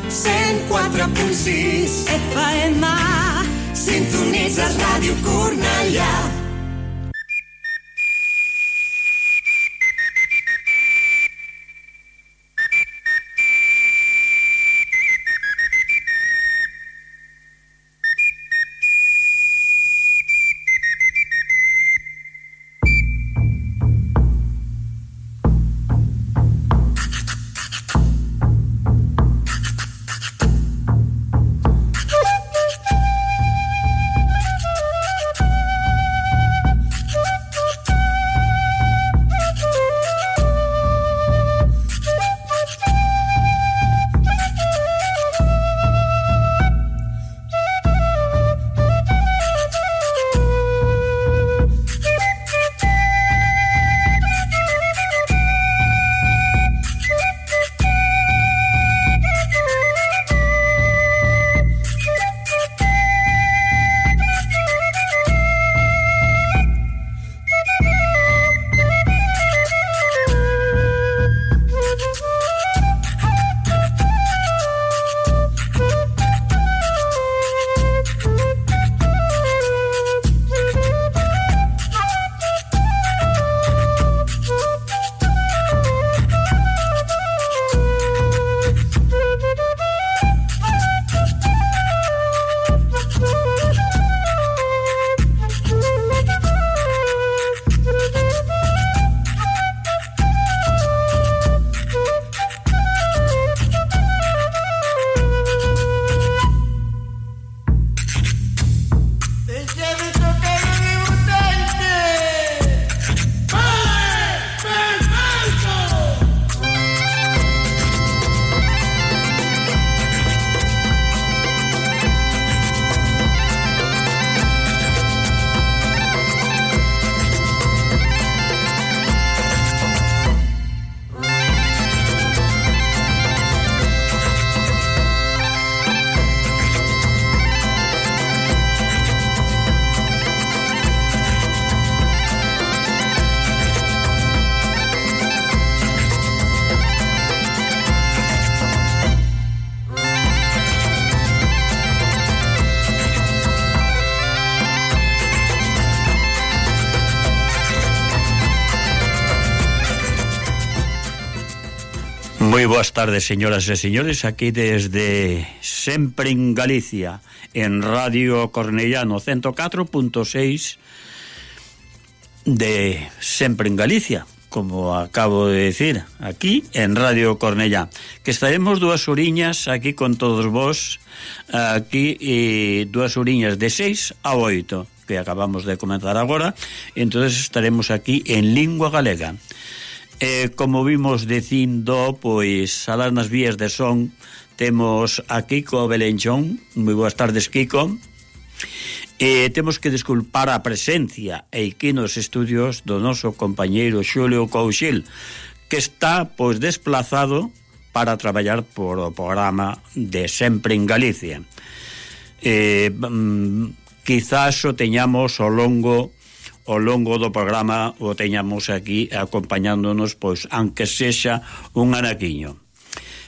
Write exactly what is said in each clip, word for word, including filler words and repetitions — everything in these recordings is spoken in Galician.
cent quatre punt sis F M. Sintonitzes Ràdio Cornellà. Moi boas tardes, señoras e señores, aquí desde Sempre en Galicia, en Radio Cornellano ciento catro punto seis de Sempre en Galicia, como acabo de decir, aquí en Radio Cornellá, que estaremos dúas horiñas aquí con todos vos, aquí e dúas horiñas de seis a oito, que acabamos de comenzar agora, entonces estaremos aquí en lingua galega. Eh, como vimos dicindo, pois alás nas vías de son temos a Kiko Belenchón. Moi boas tardes, Kiko. Eh, temos que disculpar a presencia aquí nos estudios do noso compañeiro Xulio Couchil, que está pois desplazado para traballar por o programa de Sempre en Galicia. Eh, mm, quizás o teñamos ao longo ao longo do programa, o teñamos aquí acompañándonos, pois, aunque sexa un anaquiño.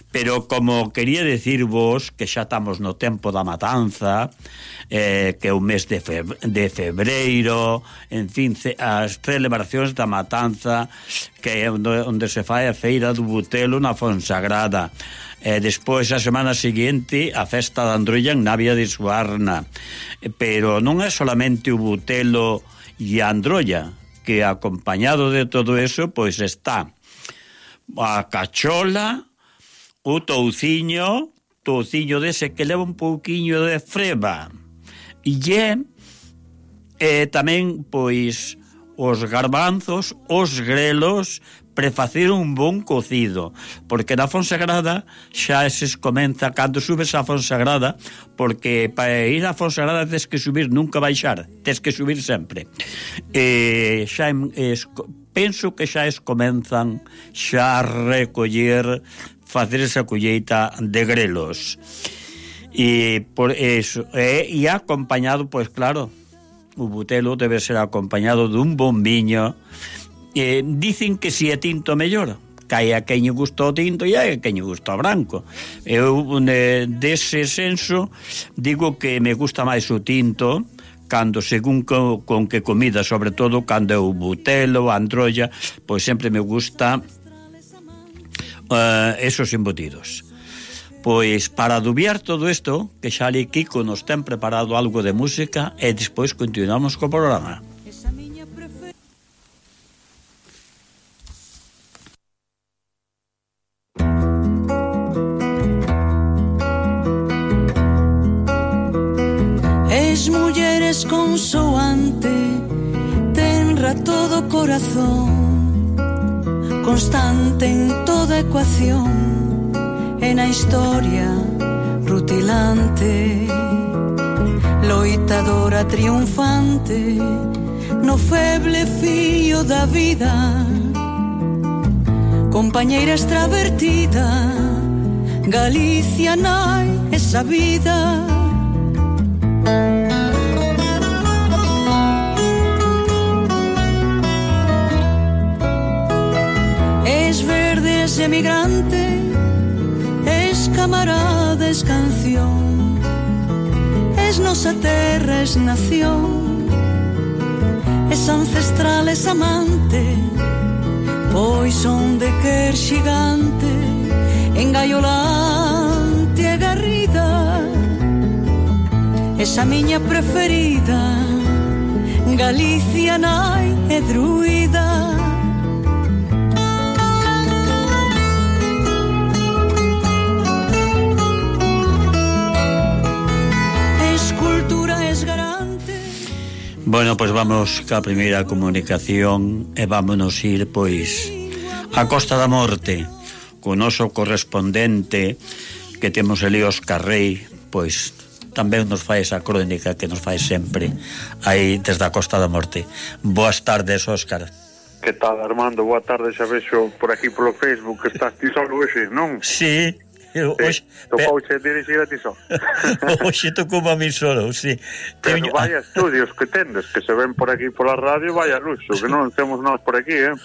Pero como quería decirvos que xa estamos no tempo da matanza, eh, que é o mes de, feb de febreiro, en fin, as celebracións da matanza, que é onde, onde se fai a feira do Butelo na Fonsagrada. Eh, despois, a semana seguinte, a festa da Androlla en Navia de Suarna. Pero non é solamente o Butelo e a Androlla, que acompañado de todo eso, pois está a cachola, o touciño, touciño dese que leva un pouquiño de freba, e é eh, tamén, pois, os garbanzos, os grelos, prefacer un bon cocido, porque na Fonsagrada xa se comeza cando subes a Fonsagrada, porque para ir a Fonsagrada tens que subir, nunca baixar, tens que subir sempre. E xa es, penso que xa es comenzan xa a recoller, facer esa colleita de grelos. E por eso, e, e acompañado, pois claro, o Butelo debe ser acompañado dun bon viño. Eh, dicen que si é tinto mellor, que hai a quen lle gusta o tinto e hai a quen lle gusta o branco. Eu, dese senso, digo que me gusta máis o tinto, cando según co, con que comida, sobre todo cando é o butelo, a androlla, pois sempre me gusta uh, esos embutidos. Pois para adubiar todo isto, que xa ali Kiko nos ten preparado algo de música e despois continuamos co programa. Es mulleres consoante, tenra todo corazón, constante en toda ecuación, e na historia rutilante, loitadora triunfante no feble fío da vida, compañeira extravertida, Galicia nai esa vida. Es verde, es emigrante, es camarada, es canción, es nosa terra, es nación, es ancestral, es amante, pois son de quer xigante, engaiolante e garrida, esa miña preferida, Galicia nai e druida. Bueno, pois vamos ca primeira comunicación e vámonos ir, pois, a Costa da Morte, co noso correspondente que temos ali Óscar Rei, pois tamén nos fai esa crónica que nos fai sempre aí desde a Costa da Morte. Boas tardes, Óscar. Que tal, Armando? Boa tarde, xa vexo por aquí polo Facebook que estás ti solo hoxe, non? Sí. Sí, tocouche dirigir a ti só. Oxe tocou a mí solo, sí. Pero Teño... vaya estudios que tendes, que se ven por aquí pola radio, vaya luxo, que non temos nós por aquí, eh?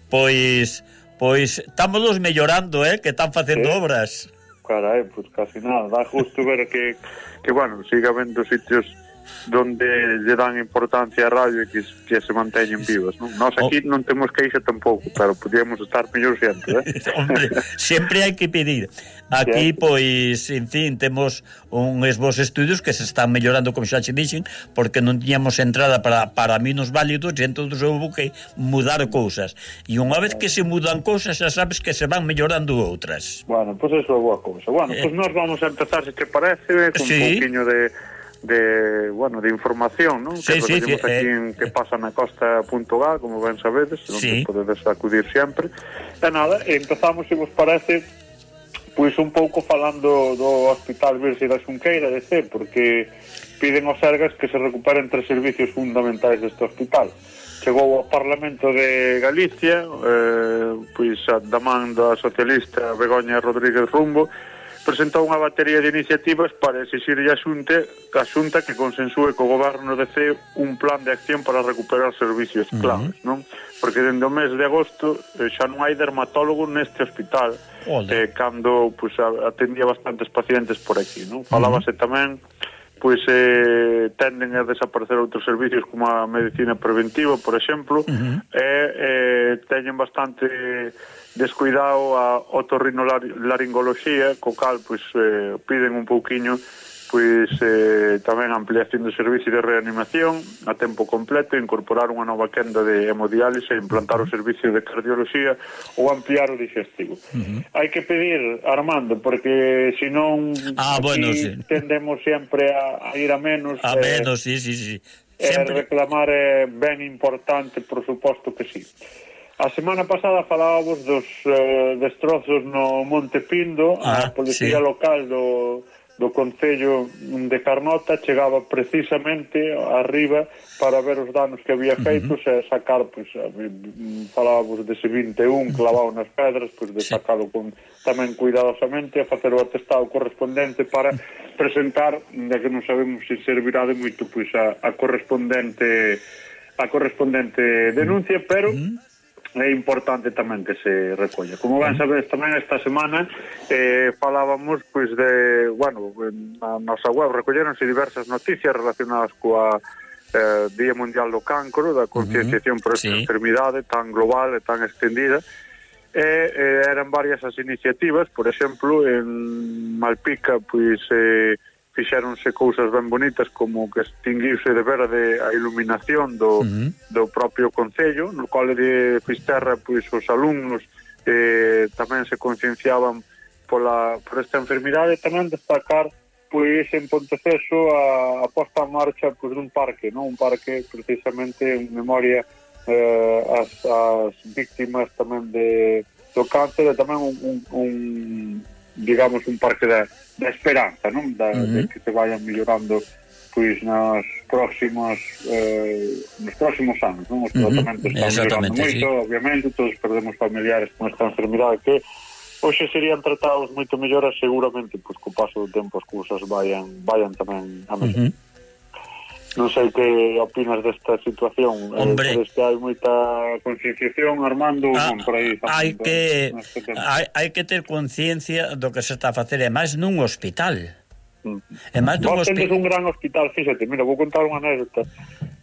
Pois, pois, estámonos mellorando, eh, que están facendo sí. obras. Carai, pois casi nada, dá justo ver que, que bueno, siga vendo sitios donde lle dan importancia a radio e que, que se manteñen vivas, non? Nós aquí oh. non temos queixa tampouco, pero podíamos estar mellor sempre, eh? Hombre, sempre hai que pedir. Aquí, sí. Pois, en fin, temos uns bons estudios que se están mellorando, como xa che dixen, porque non tiñamos entrada para, para minos válidos e entón houve que mudar cousas. E unha vez que se mudan cousas, xa sabes que se van mellorando outras. Bueno, pois pues eso é boa cousa. Bueno, pois pues nós vamos a empezar, se te parece, con sí. un pouquiño de... de, bueno, de información, non? Sí, que sí, sí, aquí eh, en que pasa na costa punto gal, como ben sabedes, sí. onde podedes acudir sempre. E nada, empezamos, se vos parece, pois un pouco falando do Hospital Virxe da Xunqueira de C, porque piden aos Sergas que se recuperen tres servicios fundamentais deste hospital. Chegou ao Parlamento de Galicia, eh, pois a da man da socialista Begoña Rodríguez Rumbo, presentou unha batería de iniciativas para exixirlle a Xunta, a Xunta que consensúe co goberno de C un plan de acción para recuperar servicios claves, uh-huh. non? Porque dende o mes de agosto eh, xa non hai dermatólogo neste hospital, eh, cando pues, atendía bastantes pacientes por aquí, non? Falábase uh-huh. tamén pois eh, tenden a desaparecer outros servicios como a medicina preventiva, por exemplo, uh-huh. e eh, teñen bastante descuidado a otorrinolaringoloxía, co cal pois eh, piden un pouquiño pois eh, tamén ampliación do servicio de reanimación a tempo completo, incorporar unha nova quenda de hemodiálise, implantar o servicio de cardioloxía ou ampliar o digestivo. Uh-huh. Hai que pedir, Armando, porque senón ah, bueno, sí. tendemos sempre a, a ir a menos. A eh, menos, sí, sí, sí. Sempre. E reclamar é ben importante, por suposto que sí. A semana pasada falábamos dos uh, destrozos no Monte Pindo. Ah, a policía sí. local do, do Concello de Carnota chegaba precisamente arriba para ver os danos que había feitos uh-huh. e sacar, pois, falábamos dese vinte e un clavado nas pedras, pois de sí. sacalo con, tamén cuidadosamente e facer o atestado correspondente para presentar, de que non sabemos se servirá de moito, pois a, a correspondente a correspondente denuncia, pero uh-huh. é importante tamén que se recolla. Como ben sabedes tamén esta semana eh, falábamos pois de, bueno, na nosa web recolleronse diversas noticias relacionadas coa eh, Día Mundial do Cancro, da concienciación por esta sí. enfermidade tan global e tan extendida. E eh, eran varias as iniciativas, por exemplo, en Malpica pois eh, fixéronse cousas ben bonitas como que extinguiuse de verde a iluminación do, uh-huh. do propio concello, no cole de Fisterra pois os alumnos eh, tamén se concienciaban pola, por esta enfermidade. Tamén destacar pois en Ponteceso a, a posta en marcha pois dun parque, non? Un parque precisamente en memoria eh, as, as víctimas tamén de, do cáncer, e tamén un, un, un digamos un parque da, da esperanza, non? Da, uh-huh. de que se vayan mellorando pois nas próximos eh, nos próximos anos, non? Os tratamentos uh-huh. están mellorando moito, sí. obviamente todos perdemos familiares con esta enfermidade que hoxe serían tratados moito mellor, seguramente pois co paso do tempo as cousas vayan vayan tamén a mellor. Uh-huh. Non sei que opinas desta situación. Hombre, eh, que hai moita concienciación, Armando, ah, non, por aí. Hai que hai, hai que ter conciencia do que se está a facer, e máis nun hospital. Mm. E máis nun hospital. Vos tendes un gran hospital, fíxate, mira, vou contar unha anécdota.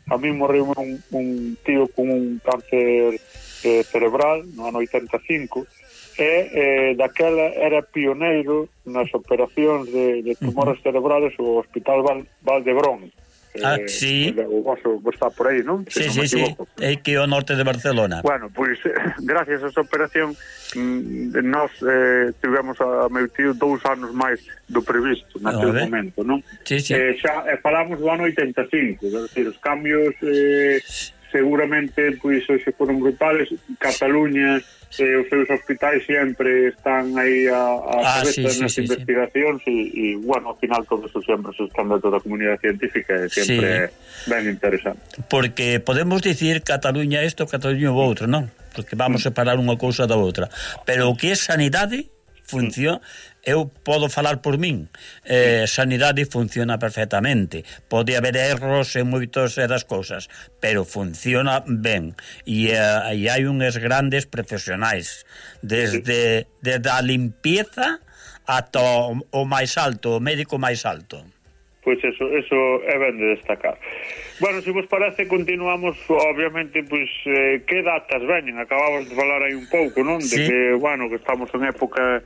A mí morreu un, un tío con un cáncer eh, cerebral no ano oitenta e cinco, e eh, daquela era pioneiro nas operacións de, de tumores uh-huh. cerebrales o Hospital Val, Valdebrón. Ah, eh, sí. O vosso está por aí, non? Sí, sí, sí, é que o norte de Barcelona. Bueno, pois, pues, gracias a esa operación mm, nós eh, tivemos a meu tío dous anos máis do previsto naquele momento, non? Sí, sí. Eh, xa eh, falamos do ano oitenta e cinco, é dicir, os cambios eh, seguramente pois hoxe foron brutales. Cataluña eh, os seus hospitais sempre están aí a, a ah, cabeza sí, nas sí, investigacións sí, sí. E, e, bueno, ao final todo eso sempre se escanda toda a comunidade científica e sempre sí. ben interesante. Porque podemos dicir Cataluña isto, Cataluña o outro, non? Porque vamos a separar unha cousa da outra. Pero o que é sanidade funciona, eu podo falar por min, eh, sanidade funciona perfectamente, pode haber erros en moitos das cousas, pero funciona ben, e, eh, e hai unhas grandes profesionais desde, desde a limpieza ata o, o máis alto, o médico máis alto. Pois eso, eso é ben de destacar. Bueno, se vos parece, continuamos, obviamente, pois, eh, que datas veñen? Acabamos de falar aí un pouco, non? Sí. De que, bueno, que estamos en época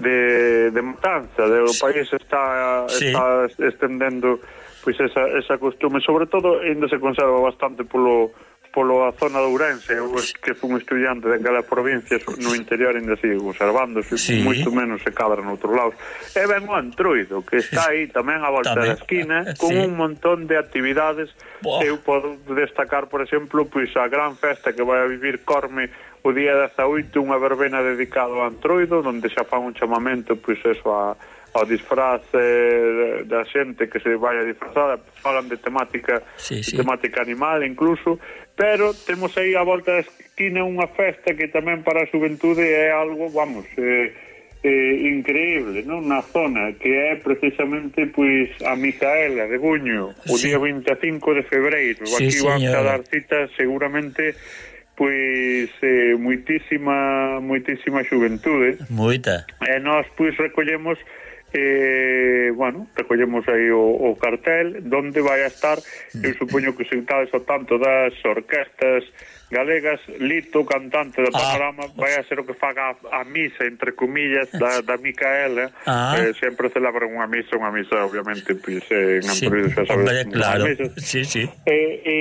de, de matanza, de, o país está, sí. está estendendo pois esa, esa costume, sobre todo, ainda se conserva bastante polo polo a zona de Ourense, eu que fui un estudiante daquelas provincias no interior ainda sigue conservándose, sí. moito menos se cadra noutros lados. E ben o Antroido, que está aí tamén a volta tamén da esquina, con sí. un montón de actividades. Boa. Eu podo destacar, por exemplo, pois a gran festa que vai a vivir Corme o día dezaoito, unha verbena dedicada ao Antroido, onde xa fan un chamamento, pois eso, a ao disfraz eh, da xente que se vai a disfrazada, falan de temática sí, sí. De temática animal incluso, pero temos aí a volta da esquina unha festa que tamén para a xuventude é algo, vamos, eh, eh, increíble, non? Na zona, que é precisamente pois a Micaela de Buño, o sí. día vinte e cinco de febreiro. Sí, aquí van a dar citas seguramente pois eh, moitísima moitísima xuventude. Moita. E nós pois recollemos Eh, bueno, recollemos aí o, o cartel donde vai a estar, eu supoño que sentades ao tanto das orquestas galegas. Lito, cantante do Panorama, ah, vai a ser o que faga a, a misa, entre comillas, da, da Micaela. Ah. Eh, sempre celebran unha misa, unha misa, obviamente, pois, eh, en Antroido, xa sabes, hombre, claro. Sí, sí. Eh, e,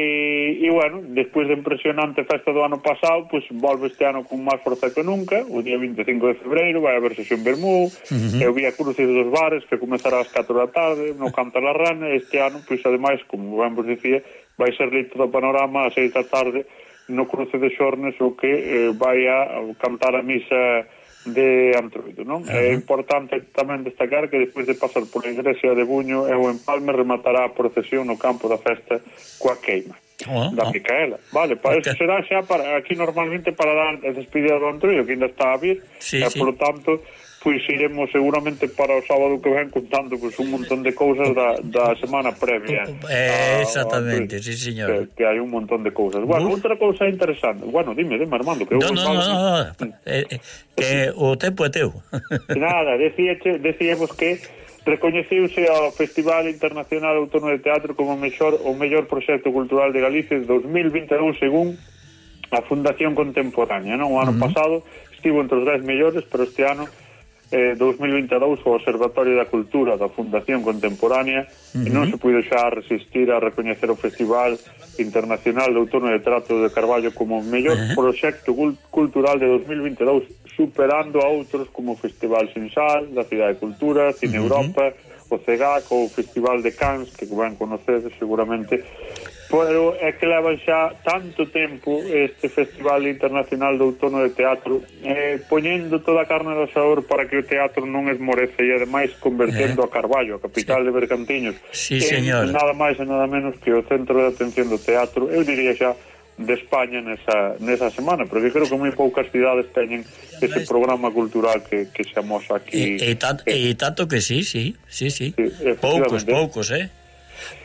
e, bueno, despois de impresionante festa do ano pasado, pois, volve este ano con máis forza que nunca, o día vinte e cinco de febreiro, vai haber sesión Bermú, uh-huh. e o Vía Crucis dos bares, que comezará ás catro da tarde, no Canta la Rana. Este ano, pois, ademais, como ben vos dicía, vai ser Lito do Panorama ás seis da tarde, no cruce de Xornes, o que eh, vai a cantar a misa de Antroido, non? Uh-huh. É importante tamén destacar que despois de pasar por a igrexa de Buño e o empalme rematará a procesión no campo da festa coa queima uh-huh. da Micaela. Vale, para okay. Eso será xa para aquí normalmente para dar a despedida do Antroido, que ainda está a vir, sí, e sí. por tanto pois iremos seguramente para o sábado que ven contando pois un montón de cousas da, da semana previa. Eh, exactamente, a, a, sí, señor. Que, que hai un montón de cousas. Bueno, Uf. outra cousa interesante. Bueno, dime, dime, Armando, que eu no, no, no, no, no. Eh, eh, que o tempo é teu. Nada, decíache, decíamos que recoñeciuse ao Festival Internacional Autónomo de Teatro como o mellor, o mellor proxecto cultural de Galicia de dos mil vinte e dous según a Fundación Contemporánea, non? O ano uh -huh. pasado estivo entre os dez mellores, pero este ano eh, dos mil vinte e dous o Observatorio da Cultura da Fundación Contemporánea uh -huh. non se puido xa resistir a recoñecer o Festival Internacional de Outono de Teatro de Carballo como o mellor uh -huh. proxecto cultural de dos mil vinte e dous, superando a outros como o Festival Sinsal da Cidade de Cultura, Cine uh -huh. Europa, o CEGAC ou o Festival de Cannes, que van conocedes seguramente. Pero é que levan xa tanto tempo este Festival Internacional de Outono de Teatro eh, poñendo toda a carne do asador para que o teatro non esmorece e ademais convertendo eh. a Carballo, a capital sí. de Bergantiños, sí, en nada máis e nada menos que o centro de atención do teatro, eu diría xa de España nesa, nesa semana, porque creo que moi poucas cidades teñen ese programa cultural que, que se amosa aquí. E, e, tanto, e tanto que sí, sí, sí, sí. sí poucos, poucos, eh?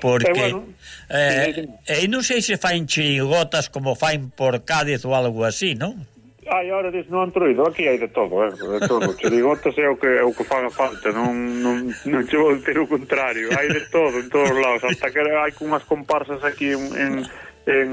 Porque eh, bueno, eh, eh, non sei se fain chirigotas como fain por Cádiz ou algo así, non? Ai, ahora dis, non Antroido, aquí hai de todo, eh, de todo. Chirigotas é o que é o que faga falta, non non non che vou ter o contrario, hai de todo en todos os lados, hasta que hai unhas comparsas aquí en, en en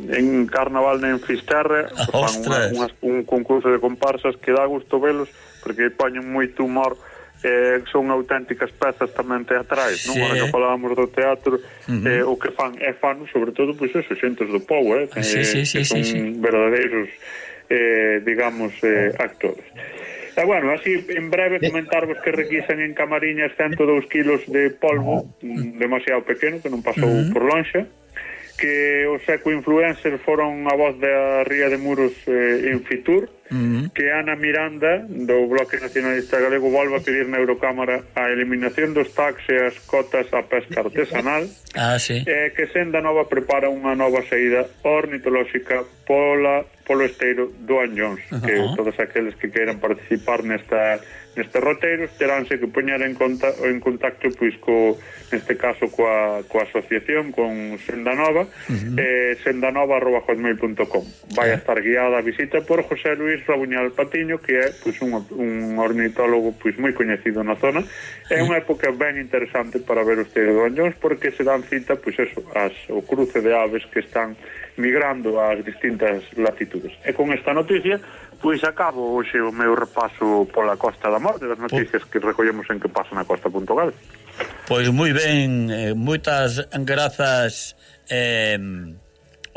en Carnaval en Fisterra, fan unha, unha, un concurso de comparsas que dá gusto velos, porque poñen moito humor. Eh, son auténticas pezas tamén teatrais, non? Sí. Ahora que falábamos do teatro, uh -huh. eh, o que fan é fan, sobre todo, pois eso, xentes do povo, eh, que, sí, sí, sí, que son sí, sí. verdadeiros, eh, digamos, eh, actores. E, bueno, así, en breve, comentarvos que requisan en Camariñas ciento dous kilos de polvo, demasiado pequeno, que non pasou uh -huh. por lonxa, que os eco-influencers foron a voz da Ría de Muros eh, en Fitur, uh -huh. que Ana Miranda, do Bloque Nacionalista Galego, volve a pedir na Eurocámara a eliminación dos tax e as cotas a pesca artesanal, ah, sí. e que Senda Nova prepara unha nova saída ornitolóxica pola, polo esteiro do Anllóns, uh -huh. que todos aqueles que queiran participar nesta nestes roteiros teránse que poñer en conta en contacto pois co neste caso coa, coa asociación con Senda Nova, uh -huh. eh, sendanova arroba hotmail punto com. Vai a estar guiada a visita por José Luis Rabuñal Patiño, que é pois un, un ornitólogo pois moi coñecido na zona. É unha época ben interesante para ver o esteiro do Anllóns, porque se dan cita pois eso, as, o cruce de aves que están migrando ás distintas latitudes. E con esta noticia pois acabo hoxe o meu repaso pola Costa da Morte, das noticias que recollemos en que pasa na Costa punto gal. Pois moi ben, eh, moitas grazas, eh,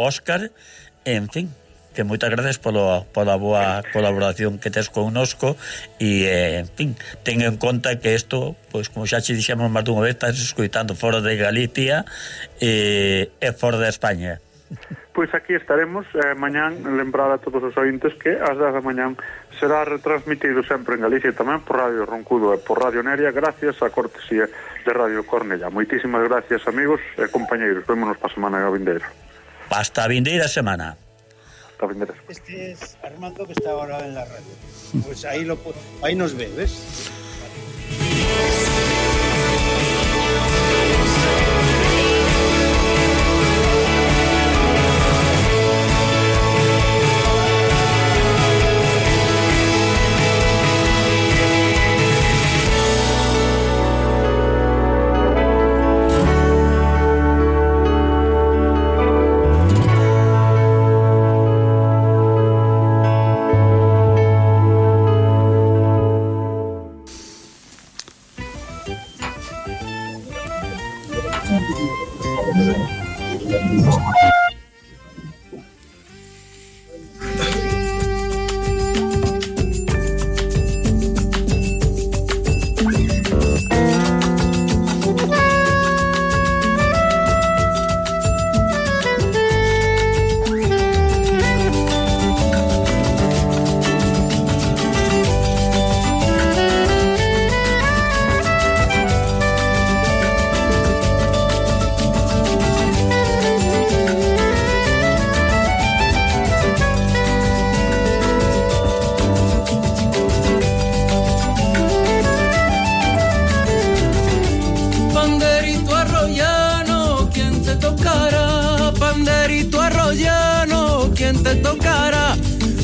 Óscar, en fin, que moitas gracias polo, pola boa colaboración que tes connosco e, eh, en fin, ten en conta que isto, pois como xa che dixemos máis dunha vez, estás escoitando fora de Galicia e, e fora de España. Pois aquí estaremos eh, mañán, lembrar a todos os ointes que ás dez da mañán será retransmitido sempre en Galicia tamén por Radio Roncudo e por Radio Neria, gracias á cortesía de Radio Cornellá. Moitísimas gracias, amigos e compañeiros. Vémonos para a semana vindeira. Hasta a vindeira semana. Hasta a vindeira. Este es Armando, que está ahora en la radio. Pues ahí, lo, ahí nos ve, ¿ves?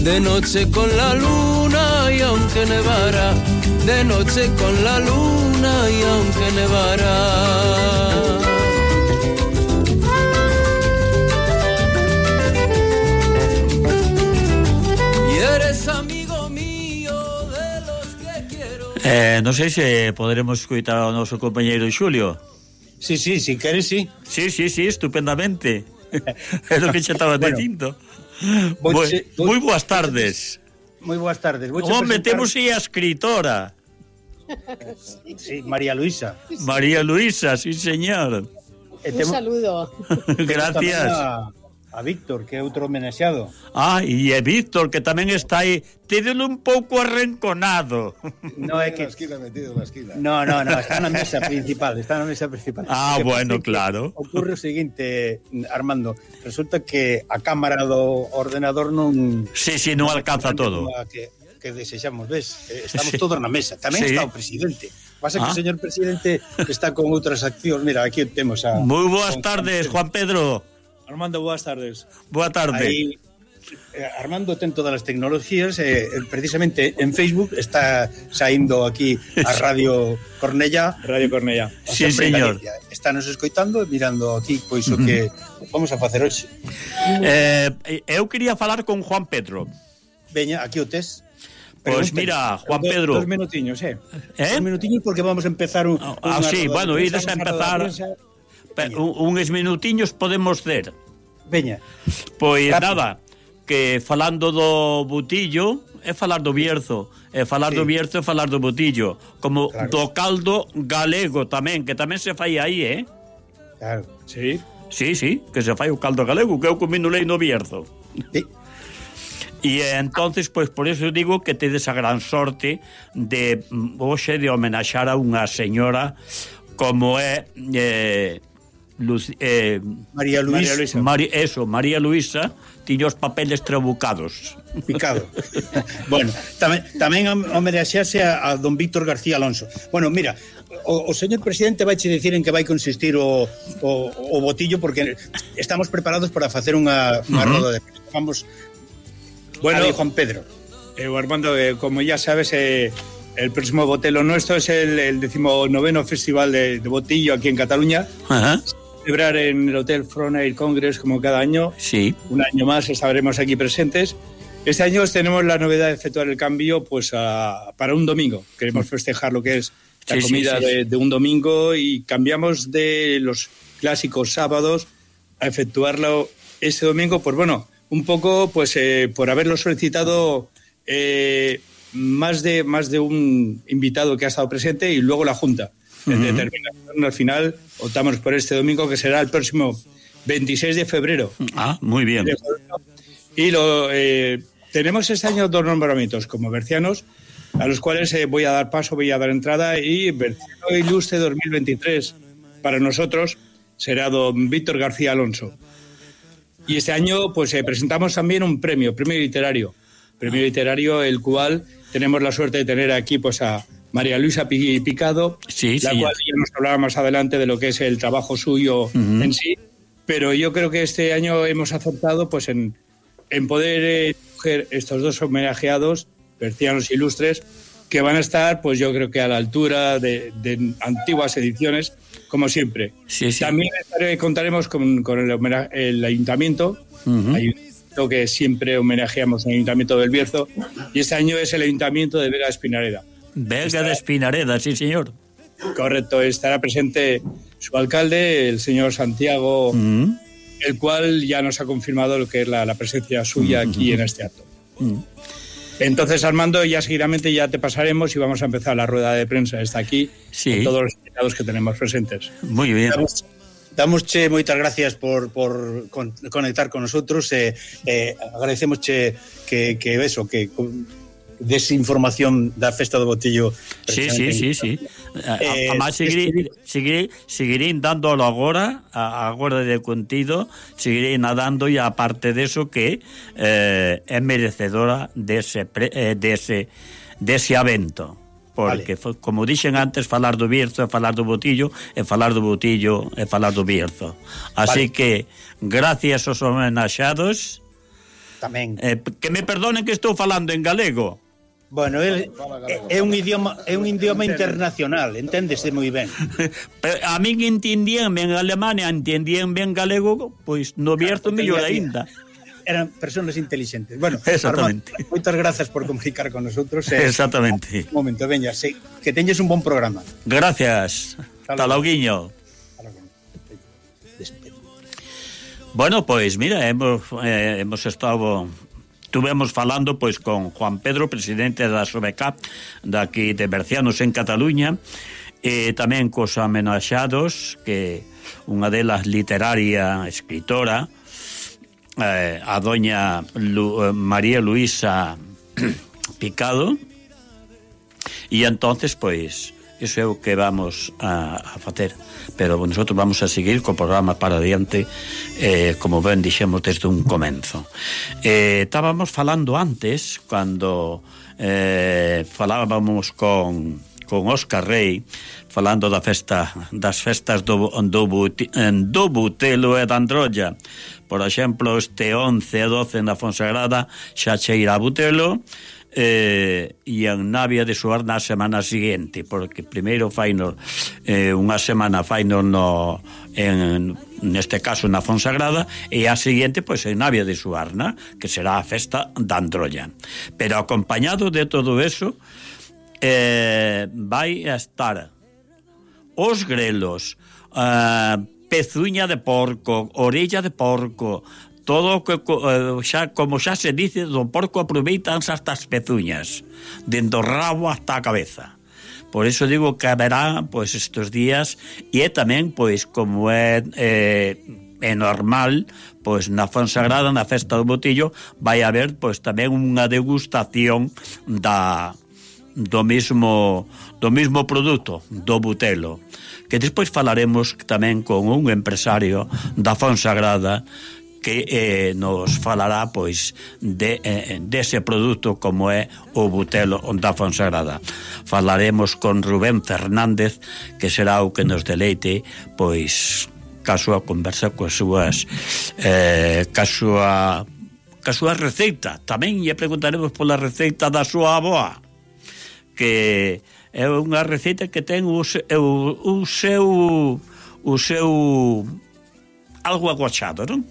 de noche con la luna y aunque nevara, de noche con la luna y aunque nevara. Y eres amigo mío de los que quiero. Eh, non sei se poderemos escutar ao noso compañeiro Xulio. Sí, sí, si queres, sí. Sí, sí, sí, estupendamente. É o que xe estaba Bueno, dicindo. voche- Moi, moi boas tardes. Moi boas tardes. Vouche Home, presentar- temos aí a escritora Sí, María Luisa. María Luisa, sí señor. E Un temos- saludo. temos Gracias. tamén A, a Víctor, que é outro homenaxeado. Ah, e é Víctor, que tamén está aí. Tédelo un pouco arrinconado. No é que... esquina, metido en la esquina. No, no, no, está na mesa principal, está na mesa principal. Ah, Que bueno, pasa que claro. Ocurre o seguinte, Armando, resulta que a cámara do ordenador non... Sí, sí, non alcanza todo. Que, que desexamos, ves? Eh, Estamos Sí. todos na mesa. Tamén Sí. está o presidente. Pasa que Ah. o señor presidente está con outras accións. Mira, aquí temos a... Moi boas con- tardes, Juan Pedro. Armando, boas tardes. Boa tarde. Aí, eh, Armando ten todas as tecnologías, eh, precisamente en Facebook está saindo aquí a Radio Cornellá. Radio Cornellá. Sí, Sempre en señor. Galicia. Estános escoitando e mirando aquí pois o que vamos a facer hoxe. Eh, eu quería falar con Juan Pedro. Veña, aquí o tes. Pois Pregúntanos. mira, Juan Do- Pedro. Dos minutiños, eh. Eh? Un minutiño porque vamos a empezar un, Ah, unha sí, roda bueno, de ides a prensa, empezar. unha roda de prensa. Pe- un, uns minutiños podemos ter. Veña. Pois Rápido. nada, que falando do Botillo é falar do Bierzo, é falar Sí. do Bierzo é falar do Botillo, como Claro. do caldo galego tamén, que tamén se fai aí, eh? Claro. Sí. Sí, sí, que se fai o caldo galego, que eu comino lei no Bierzo. Sí. E entonces, pois por eso digo que tedes a gran sorte de mm, hoxe de homenaxar a unha señora como é eh, Luci, eh, María Luisa, María Luisa. Mari, eso, María Luisa tiña os papeles trabucados. Picado. Bueno, tamén, tamén homenaxearse a, a don Víctor García Alonso. Bueno, mira, o, o señor presidente vai che dicir en que vai consistir o, o, o botillo, porque estamos preparados para facer unha, unha Uh-huh. roda de prensa. Vamos, Bueno, bueno, Juan Pedro. Eh, Armando, eh, como ya sabes, eh, el próximo Botelo nuestro es el, el decimonoveno Festival de, de Botillo aquí en Cataluña. Ajá. Celebrar en el Hotel Frontera Congress como cada año. Sí. Un año más estaremos aquí presentes. Este año tenemos la novedad de efectuar el cambio pues a, para un domingo. Queremos festejar lo que es la Sí, sí, comida sí, sí. de, de un domingo y cambiamos de los clásicos sábados a efectuarlo este domingo. Pues bueno, un poco pues eh, por haberlo solicitado eh, más de más de un invitado que ha estado presente y luego la Junta. En determinación, al final optamos por este domingo, que será el próximo veintiséis de febrero. Ah, muy bien. Y lo, eh, tenemos este año dos nombramientos como bercianos, a los cuales eh, voy a dar paso, voy a dar entrada, y Berciano Ilustre dos mil veintitrés para nosotros será don Víctor García Alonso. Y este año pues eh, presentamos también un premio, premio literario, premio literario el cual tenemos la suerte de tener aquí pues a María Luisa Picado, Sí, la sí. cual ya nos hablaba más adelante de lo que es el trabajo suyo Ujú. en sí, pero yo creo que este año hemos acertado pues en, en poder eh, coger estos dos homenajeados, bercianos ilustres, que van a estar pues yo creo que a la altura de, de antiguas ediciones, como siempre. Sí, sí. También estaré- contaremos con, con el, homena- el ayuntamiento, Ujú. ayuntamiento que siempre homenajeamos el ayuntamiento del Bierzo, y este año es el ayuntamiento de Vega de Espinareda. Vega de Espinareda, sí, señor. Correcto, estará presente su alcalde, el señor Santiago, Mm. el cual ya nos ha confirmado lo que es la, la presencia suya aquí en este acto. Mm. Entonces, Armando, ya seguidamente ya te pasaremos y vamos a empezar la rueda de prensa. Está aquí Sí. con todos los invitados que tenemos presentes. Muy bien. Damos, damosche moitas gracias por, por con, conectar con nosotros. Eh, eh, agradecemosche que, que eso, que des información da Festa do Botillo. Sí, sí, sí, sí. Eh, Además, seguiré, este- seguiré, seguiré dándolo agora, a- agora de contido, seguiré nadando e aparte de eso que eh, é merecedora dese, pre, eh, dese, dese evento. Porque, vale. como dixen antes, falar do Bierzo é falar do Botillo, e falar do Botillo é falar do Bierzo. Así Vale. que, gracias aos homenaxados, Tamén. Eh, que me perdonen que estou falando en galego. Bueno, el, é un idioma é un idioma internacional, enténdese moi ben. A min entendíanme en Alemania, entendíanme en galego, pois no Bierzo mellor aínda. Eran personas inteligentes. Bueno, exactamente. Armando, moitas grazas por comunicar con nosotros. Eh, exactamente. Un momento, veña, sí, que teñes un bon programa. Gracias. Hasta logo, guiño. Bueno, pois mira, hemos eh, hemos estado Estuvemos falando pois con Juan Pedro, presidente da SOBECAP daqui de Bercianos en Cataluña, e tamén cos amenaxados, que unha delas literaria, escritora, eh, a doña Lu, María Luisa Picado, e entonces pois iso é o que vamos a, a facer, pero nosotros vamos a seguir co programa para adiante, eh, como ben dixemos desde un comenzo. Eh, estábamos falando antes, cando eh, falábamos con, con Óscar Rey, falando da festa, das festas do, do, do Butelo e da Androlla. Por exemplo, este once e doce na Fonsagrada xa cheira a Butelo, Eh, e en Navia de Suar na semana seguinte, porque primeiro faino eh, unha semana faino no, en, neste caso na Fonsagrada, e a seguinte pois en Navia de Suarna, que será a festa da Androlla. Pero acompañado de todo eso eh, vai a estar os grelos, eh, pezuña de porco, orella de porco, todo que xa, como xa se dice, do porco aproveitanse hasta as pezuñas, dende o rabo hasta a cabeza. Por eso digo que haberá pois estes días, e é tamén pois como é eh, é normal, pois na Fonsagrada, na festa do Botillo, vai haber pois tamén unha degustación da do mismo do mismo produto, do Butelo, que despois falaremos tamén con un empresario da Fonsagrada que eh, nos falará pois de eh, dese produto como é o Butelo da Fonsagrada. Falaremos con Rubén Fernández, que será o que nos deleite pois ca súa conversa coas súas eh, ca súa ca súa receita. Tamén lle preguntaremos pola receita da súa avoa, que é unha receita que ten o, o, o seu o seu algo agochado, non?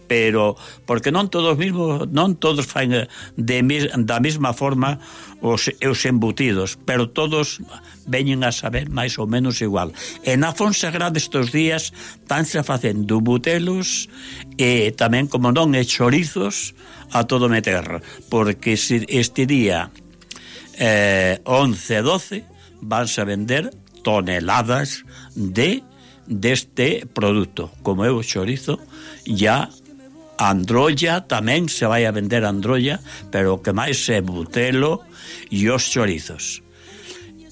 Pero porque non todos mismos, non todos fan de, da mesma forma os, os embutidos, pero todos veñen a saber máis ou menos igual. E na Fonsagrada estes días tanse facendo butelos e tamén, como non, e chorizos a todo meter, porque este día eh, once e doce vanse a vender toneladas de deste produto, como é o chorizo. Ya Androlla tamén se vai a vender Androlla, pero o que máis é Butelo e os chorizos.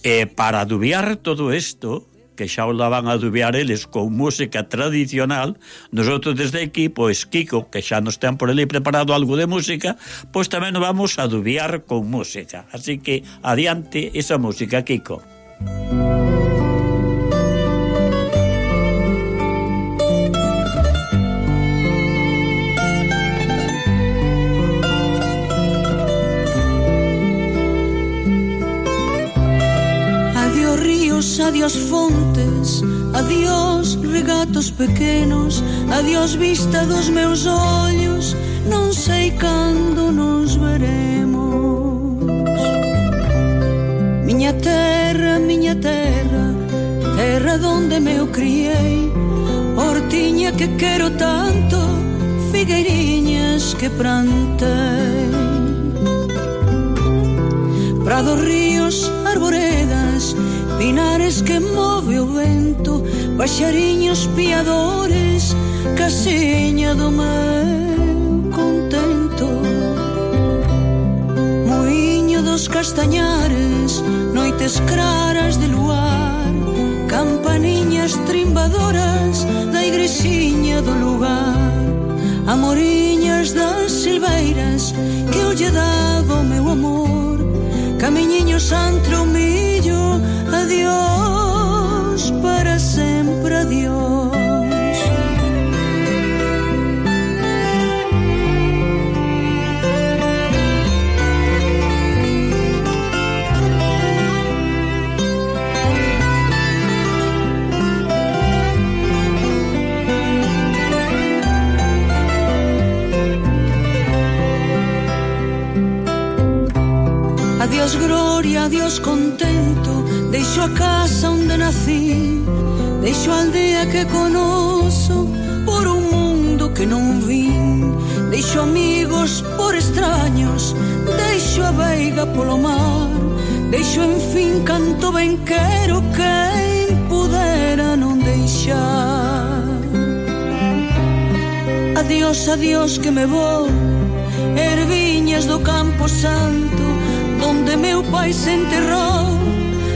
E para adubiar todo isto, que xa o van a adubiar eles con música tradicional, nosotros desde aquí, pois Kiko, que xa nos ten por ali preparado algo de música, pois tamén nos vamos a adubiar con música. Así que adiante esa música, Kiko. Adiós fontes, adiós regatos pequenos, adiós vista dos meus ollos, non sei cando nos veremos. Miña terra, miña terra, terra donde me o criei, hortiña que quero tanto, figueiriñas que plantei. Prados, ríos, arboredas, pinares que move o vento, paxariños piadores, casiña do meu contento. Muiño dos castañares, noites claras de luar, campaniñas trimbadoras da igrexiña do lugar, amoriñas das silveiras que eu lle daba o meu amor. Camiñiños entre o millo, adiós, para sempre adiós. adiós contento, deixo a casa onde nací, deixo a aldea que conozo por un mundo que non vin, deixo amigos por extraños, deixo a veiga polo mar, deixo en fin canto ben quero quen pudera non deixar. Adiós, adiós que me vou, erviñas do Campo Santo, donde meu pai se enterrou,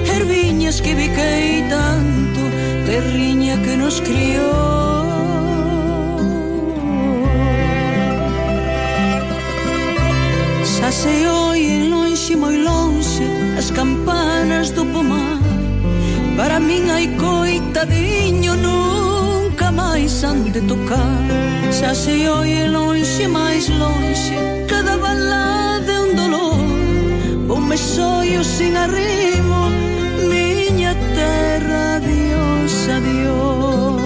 erviñas que biquei tanto, terriña que nos criou. Xa se oen lonxe, moi lonxe, as campanas do pomar, para min hai coitadiño, nunca máis han de tocar. Xa se oen lonxe, máis lonxe, cada balada é un dolor, ponme soio sin arrimo, miña terra, adiós, adiós.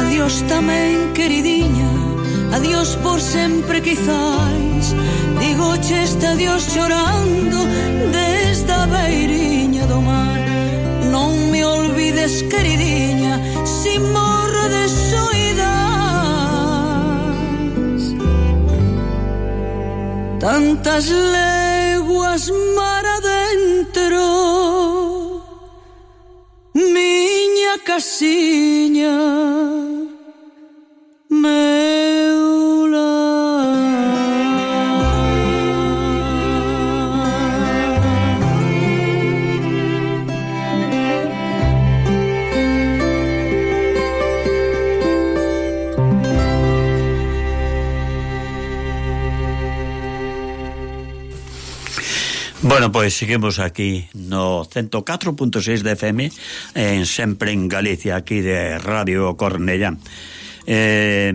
Adiós tamén, queridinha, adiós por sempre quizás, digoche este adiós chorando desde a beiriña do mar. Non me olvides, queridinha, si morro de soidades, tantas leguas mar adentro, miña casiña, meu lar. Bueno, pois seguimos aquí no ciento catro punto seis de F M, en sempre en Galicia, aquí de Radio Cornellá. Eh,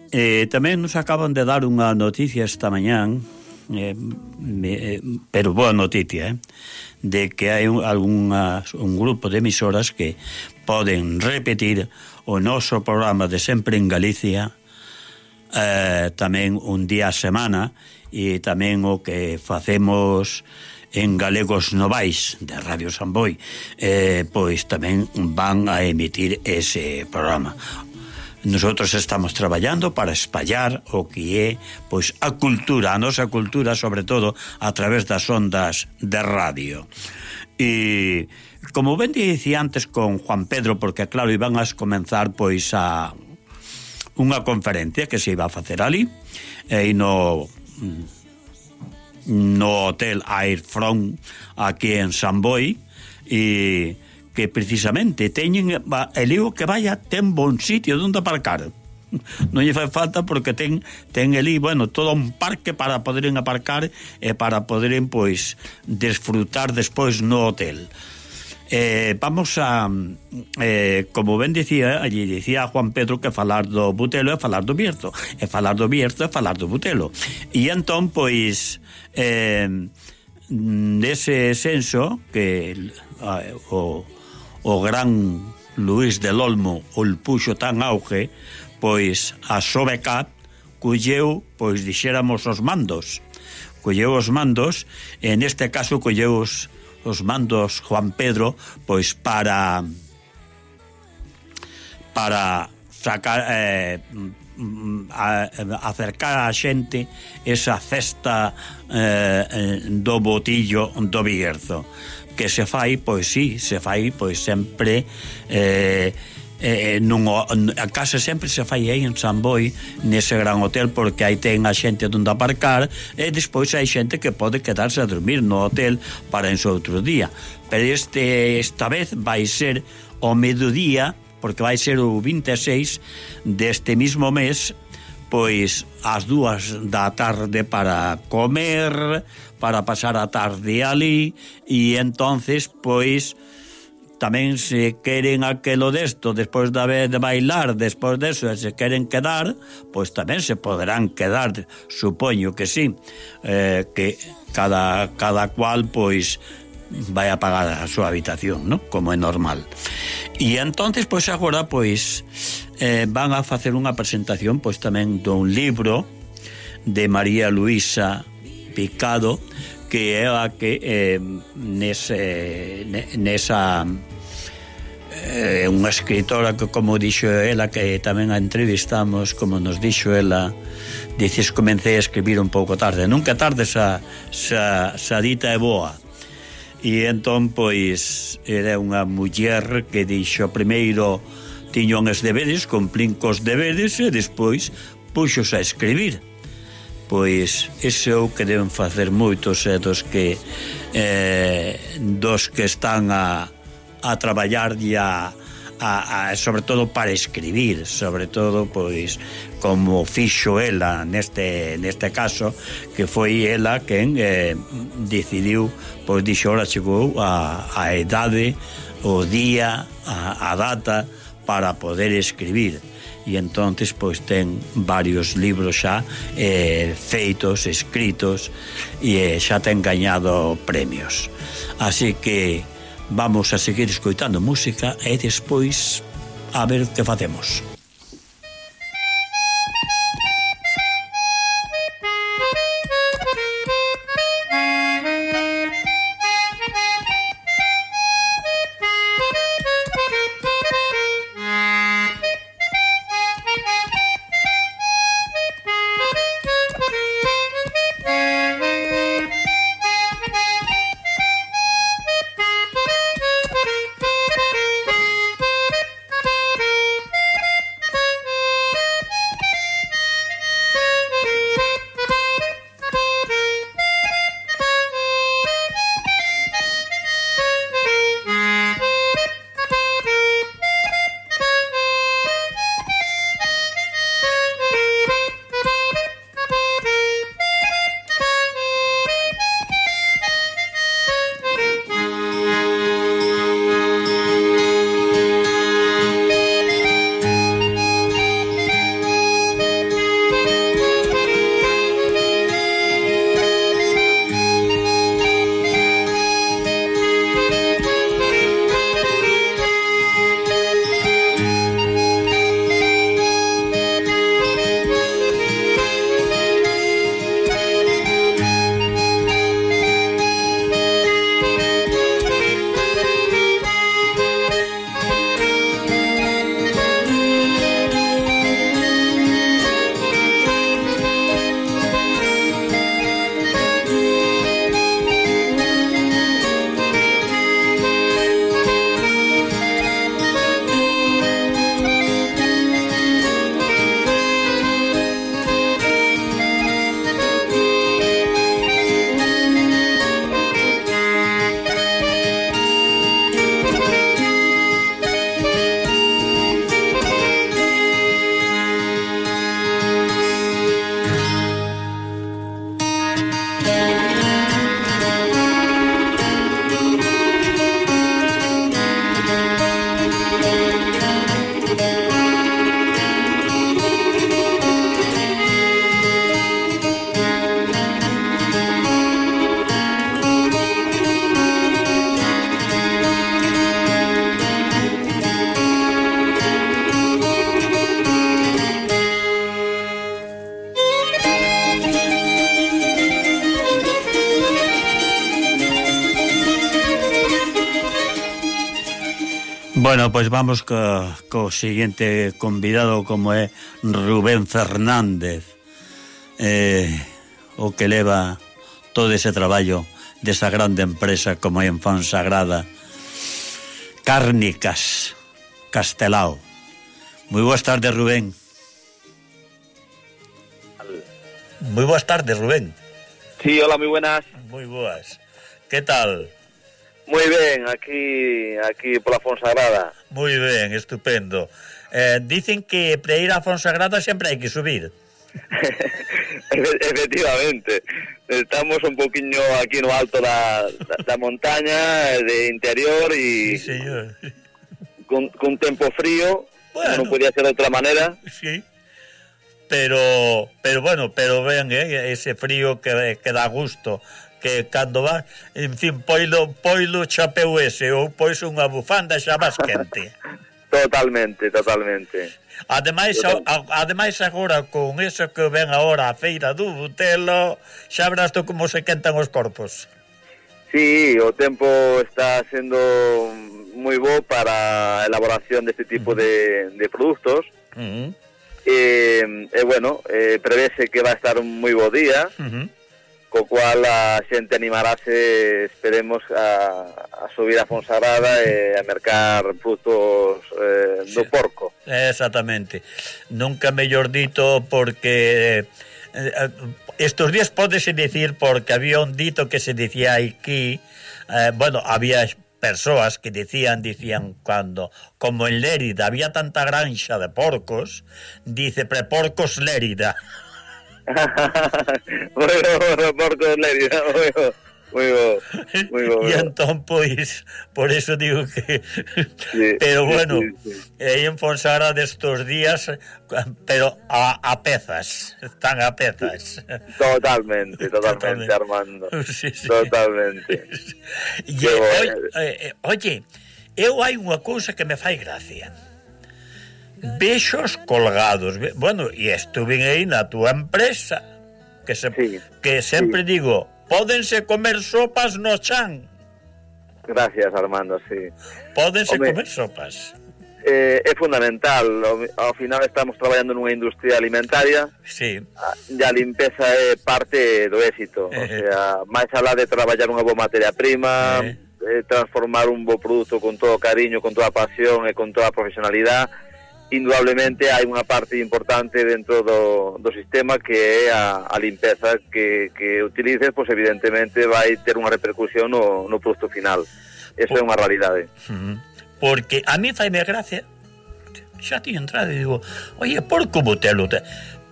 eh, tamén nos acaban de dar unha noticia esta mañán, eh, eh, pero boa noticia, eh, de que hai un, algunhas, un grupo de emisoras que poden repetir o noso programa de sempre en Galicia, eh, tamén un día a semana, e tamén o que facemos en Galegos Novais de Radio Samboy, eh, pois tamén van a emitir ese programa. Nosotros estamos traballando para espallar o que é pois a cultura, a nosa cultura, sobre todo a través das ondas de radio. E como ben dicía antes con Juan Pedro, porque claro, iban a comenzar pois a unha conferencia que se iba a facer ali, e no no Hotel Air Front aquí en Samboy, e que precisamente teñen el lío que vaya ten bon sitio onde aparcar. Non lle fai falta porque ten ten ali, bueno, todo un parque para poderem aparcar e para poderem pois desfrutar despois no hotel. Eh, vamos a eh, como ben dicía, allí dicía Juan Pedro que falar do Butelo é falar do Bierzo, e falar do Bierzo é falar do Butelo, e entón pois eh, nese senso que eh, o, o gran Luis del Olmo o puxo tan auge, pois a Sobecat colleu, pois dixéramos os mandos colleu os mandos e neste caso colleu os os mandos Juan Pedro pois para para sacar eh, a, acercar a xente esa festa eh, do botillo do Bierzo, que se fai, pois sí, se fai pois sempre eh, eh, nun, a casa sempre se fai aí en Samboy, nese gran hotel, porque aí ten a xente onde aparcar e despois hai xente que pode quedarse a dormir no hotel para en seu outro día, pero este esta vez vai ser o mediodía, porque vai ser o vinte e seis deste mismo mes, pois ás dúas da tarde para comer, para pasar a tarde ali, e entonces pois tamén se queren aquelo desto despois de haber de bailar, despois deso, e se queren quedar, pois tamén se poderán quedar, supoño que sí, eh, que cada, cada cual pois vai a pagar a súa habitación, ¿no? Como é normal. E entonces, pois agora, pois eh, van a facer unha presentación pois tamén dun libro de María Luisa Picado, que é a que eh, nese, nesa é eh, unha escritora que, como dixo ela, que tamén a entrevistamos, como nos dixo ela, dices, comecei a escribir un pouco tarde, nunca tarde xa, xa, xa dita é boa. E entón, pois, era unha muller que dixo, primeiro tiño uns deberes, cumplín cos deberes, e despois puxos a escribir. Pois ese é o que deben facer moitos e dos que eh, dos que están a, a traballar e a, a, a sobre todo para escribir, sobre todo pois como fixo ela neste neste caso, que foi ela quen eh, decidiu, pois dixo, ora chegou a, a idade, o día, a, a data para poder escribir. E entonces pois ten varios libros xa eh, feitos, escritos, e eh, xa ten gañado premios. Así que vamos a seguir escoitando música e despois a ver que facemos. Bueno, pois vamos co, co seguinte convidado, como é Rubén Fernández, eh, o que leva todo ese traballo desa grande empresa como é en Fonsagrada, Cárnicas Castelao. Moi boas tardes, Rubén. Moi boas tardes, Rubén. Sí, hola, moi buenas. Moi boas. Que tal? Moi ben, aquí aquí pola Fonsagrada. Moi ben, estupendo. Eh, dicen que para ir a Fonsagrada sempre hai que subir. Efectivamente. Estamos un poquinho aquí no alto da, da, da montaña, de interior e sí, señor. Con, con tempo frío, bueno, non podía ser de outra maneira. Sí. Pero, pero bueno, pero vean, eh, ese frío que, que dá gusto, que cando vas, en fin, poilo, poilo chapeu ese, ou pois unha bufanda xa vas quente. Totalmente, totalmente. Ademais, a, ademais agora con eso que ven agora a feira do Butelo, xa verás tú como se quentan os corpos. Sí, o tempo está sendo moi bo para a elaboración deste tipo uh-huh. de, de produtos. Uh-huh. E, e bueno, eh, prevese que va a estar un moi bo día, uh-huh. co cual a xente animarase, esperemos, a, a subir a Fonsagrada e a mercar produtos eh, do sí. porco. Exactamente. Nunca mellor dito, porque eh, estos días pódese dicir, porque había un dito que se dicía aquí, eh, bueno, había persoas que decían, dicían cuando, como en Lérida había tanta granxa de porcos, dice preporcos Lérida. Bueno, bueno, porcos Lérida, bueno. Moi bo, moi bo. E entón, pois, por eso digo que... Sí, pero bueno, sí, sí. aí en Fonsagrada destos días, pero a, a pezas, están a pezas. Totalmente, totalmente, totalmente. Armando. Sí, sí. Totalmente. E, oye, eh, oye, eu hai unha cousa que me fai gracia. Vexos colgados, bueno, e estuve aí na túa empresa, que, se, sí, que sempre sí. digo... Pódense comer sopas no chan. Gracias, Armando, sí. Pódense Home, comer sopas. Eh, é fundamental. Ao final estamos traballando nunha industria alimentaria. Sí. E a limpeza é parte do éxito. Eh. O sea, máis alá de traballar unha boa materia prima, eh. Eh, transformar un bo produto con todo cariño, con toda pasión e con toda profesionalidade, indudablemente hai unha parte importante dentro do, do sistema que é a, a limpeza que, que utilices, pois evidentemente vai ter unha repercusión no, no produto final. Eso Por, é unha realidade. Porque a mí faime gracia, xa tiño entrado e digo, oye, porco Butelo,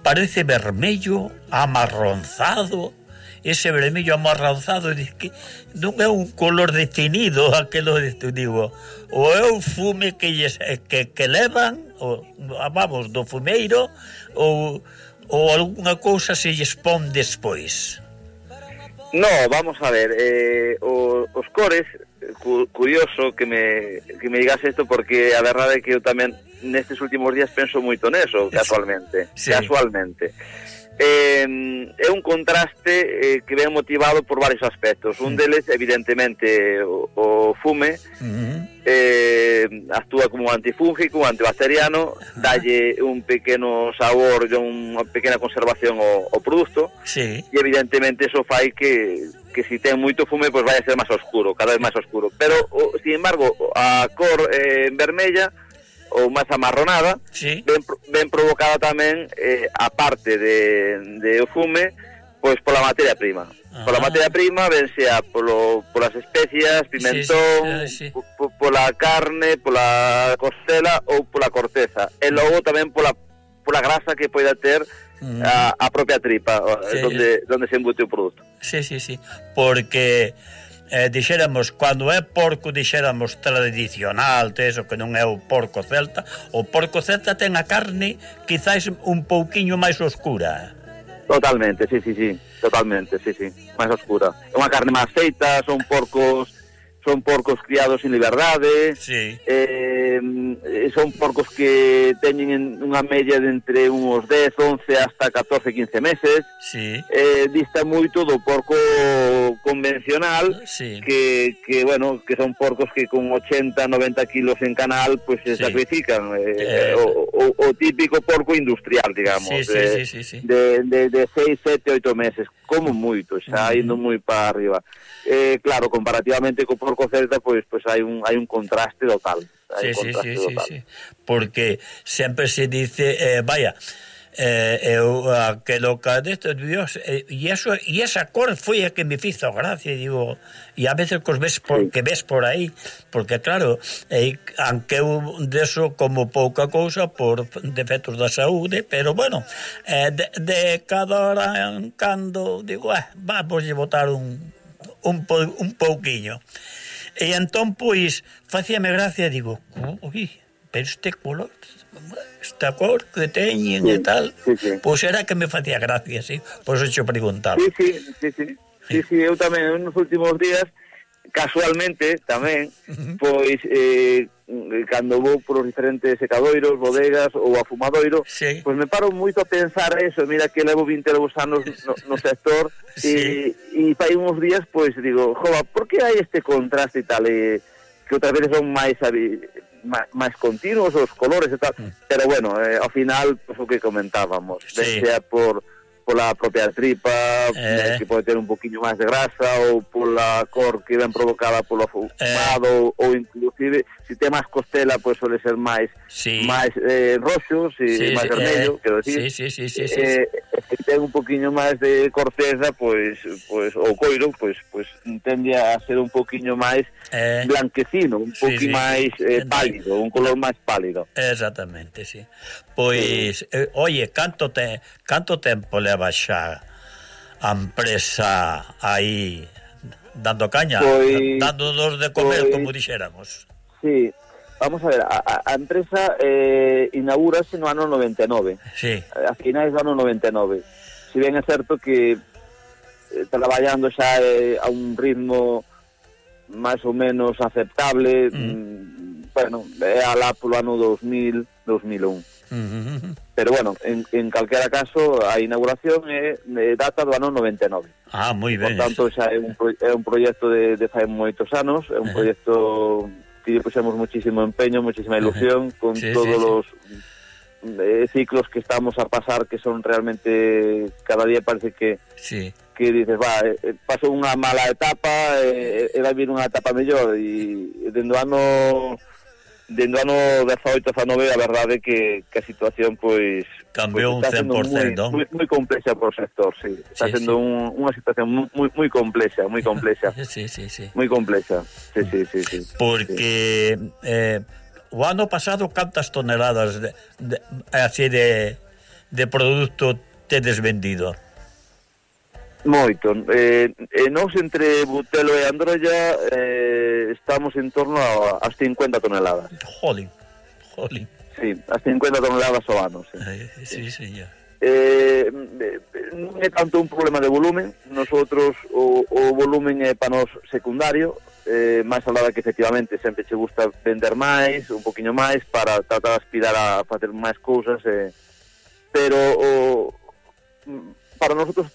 parece vermello, amarronzado, ese vermello amarronzado, que non é un color definido aquelo, digo, ou é o fume que, que, que levan, ou, vamos, do fumeiro, ou, ou alguna cousa se lles pon despois. No, vamos a ver, eh, os, os cores, cu, curioso que me, que me digas isto, porque a verdade é que eu tamén nestes últimos días penso moito neso, casualmente, sí. casualmente. Eh, é un contraste eh, que ven motivado por varios aspectos. Un deles, evidentemente, o, o fume, uh-huh. eh, actúa como antifúngico, antibacteriano, uh-huh. dalle un pequeno sabor e unha pequena conservación ao, ao produto, sí. e evidentemente eso fai que, que si ten moito fume, pois vai a ser máis oscuro, cada vez máis oscuro. Pero, o, sin embargo, a cor eh, vermella ou máis amarronada, sí. ben, ben provocada tamén, eh, a parte de, de o fume, pois pola materia prima. Ah. Pola materia prima, ben sea polo, polas especias, pimentón, sí, sí, sí. Po, pola carne, pola costela ou pola corteza. E logo tamén pola, pola grasa que poida ter mm. a, a propia tripa, sí. donde, donde se embute o produto. Sí, sí, sí, porque... Eh, dixéramos, cando é porco dixéramos tradicional, eso que non é o porco celta, o porco celta ten a carne quizás un pouquiño máis oscura. Totalmente, sí, sí, sí, totalmente, sí, sí, máis oscura. É unha carne máis feita, son porcos son porcos criados en liberdade, sí. eh, son porcos que teñen unha media de entre uns dez, once hasta catorce, quince meses. Sí. Eh, dista moito do porco convencional, sí. que, que, bueno, que son porcos que con ochenta, noventa kilos en canal, pues se sí. sacrifican. Eh, eh, o, o, o típico porco industrial, digamos, sí, sí, de, sí, sí, sí. de, de, de seis, sete, oito meses, como moito, xa uh-huh. indo moi para arriba. Eh, claro, comparativamente co porco celta, pois pues, pues hai un hai un contraste total. Sí, Hai un sí, contraste sí, total. sí, sí. Porque sempre se dice, eh, vaya, eh, eu aquelo que desto, Dios, e eh, eso, e esa cor foi a que me fizo gracia, digo, e a veces cos ves por, sí. que ves por aí, porque claro, eh, aunque eu deso como pouca cousa por defectos da saúde, pero bueno, eh, de, de cada hora en cando digo, eh, vamos a botar un un, po, un pouquiño. E entón, pois, facíame gracia, digo, ui, pero este color, esta cor que teñen sí, e tal, sí, sí. Pois era que me facía gracia, sí, pois eu che preguntaba. Sí, sí, sí, sí, sí, sí, eu tamén nos últimos días, casualmente, tamén, pois, eh, cando vou por os diferentes secadoiros, bodegas ou afumadoiro, sí. Pois me paro moito a pensar eso, mira que levo vinte anos no, no sector, sí. e, e fai uns días, pois, digo, jova, por que hai este contraste e tal, e, que outras veces son máis, máis, máis continuos os colores e tal, mm. pero bueno, eh, ao final, pois, o que comentábamos, sí. Sea por... pola propia tripa, eh. que pode ter un poquinho máis de grasa, ou pola cor que ven provocada polo fumado, eh. ou inclusive, se tem máis costela, pois suele ser máis sí. máis eh, roxo, si sí, máis sí, vermelho, eh. quero dicir. Sí, sí, sí, sí, sí, eh, sí. Se ten un poquinho máis de corteza, pois, pois o coiro, pois, pois tende a ser un poquinho máis eh. blanquecino, un sí, poquinho sí, máis eh, pálido, un color máis pálido. Exactamente, sí. Pois, sí. eh, oye, canto te, canto tempo leva xa a empresa aí dando caña, pois, dando dos de comer, pois, como dixéramos? Sí, vamos a ver, a, a empresa eh, inaugurase no ano noventa e nove, sí. A finais do ano noventa e nove. Si ben é certo que eh, traballando xa eh, a un ritmo máis ou menos aceptable, mm. Mm, bueno, é alá polo ano dos mil, dos mil un. Uh-huh. Pero bueno, en, en calquera caso a inauguración é, é data do ano noventa e nove. Ah, moi ben. Por tanto, xa é un, é un proxecto de, de fai moitos anos, é un proxecto que lle puxemos muchísimo empeño, muchísima ilusión, uh-huh. con sí, todos sí, os sí. Eh, ciclos que estamos a pasar, que son realmente, cada día parece que sí. que dices, va, eh, paso unha mala etapa e eh, vai vir unha etapa mellor, e dentro do ano dentro do ano dezaoito a dezanoventa a verdade que, que a situación pois cambiou pues, un cen por cento, moi, moi, moi complexa por sector, sí. Está sí, sendo sí. Un, unha situación moi moi complexa, moi complexa. Sí, sí, sí. Moi complexa. Sí, sí, sí, sí. Porque sí. eh o ano pasado cantas toneladas de, de así de de produto tedes vendido? Moito. Eh, e nós entre Butelo e Androlla eh, estamos en torno a, as cincuenta toneladas. Jolín, jolín. Sí, as cincuenta toneladas ao ano, sí. Eh, sí, sí, ya. Eh, non é tanto un problema de volumen, nosotros o, o volumen é para nos secundario, eh, máis alá que efectivamente sempre che gusta vender máis, un poquinho máis, para tratar de aspirar a facer máis cousas, eh, pero o, para nosotros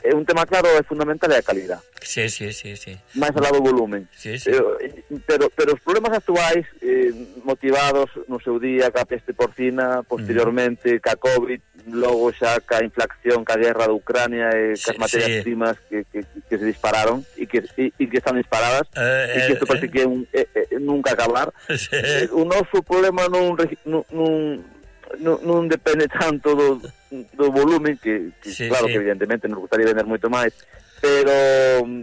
é un tema claro e fundamental é a calidad. Sí, sí, sí, sí. Máis alá do volumen. Sí, sí. Pero, pero, pero os problemas actuais eh, motivados no seu día ca peste porcina, posteriormente mm. ca COVID, logo xa ca inflación, ca guerra de Ucrania e sí, cas materias sí. primas que, que, que se dispararon e que, e, e que están disparadas eh, e que isto eh, parece eh. que é un, eh, eh, nunca acabar. Sí. Eh, o noso problema non, non, non Non, non depende tanto do, do volumen que, que sí, claro sí. que evidentemente nos gustaría vender moito máis, pero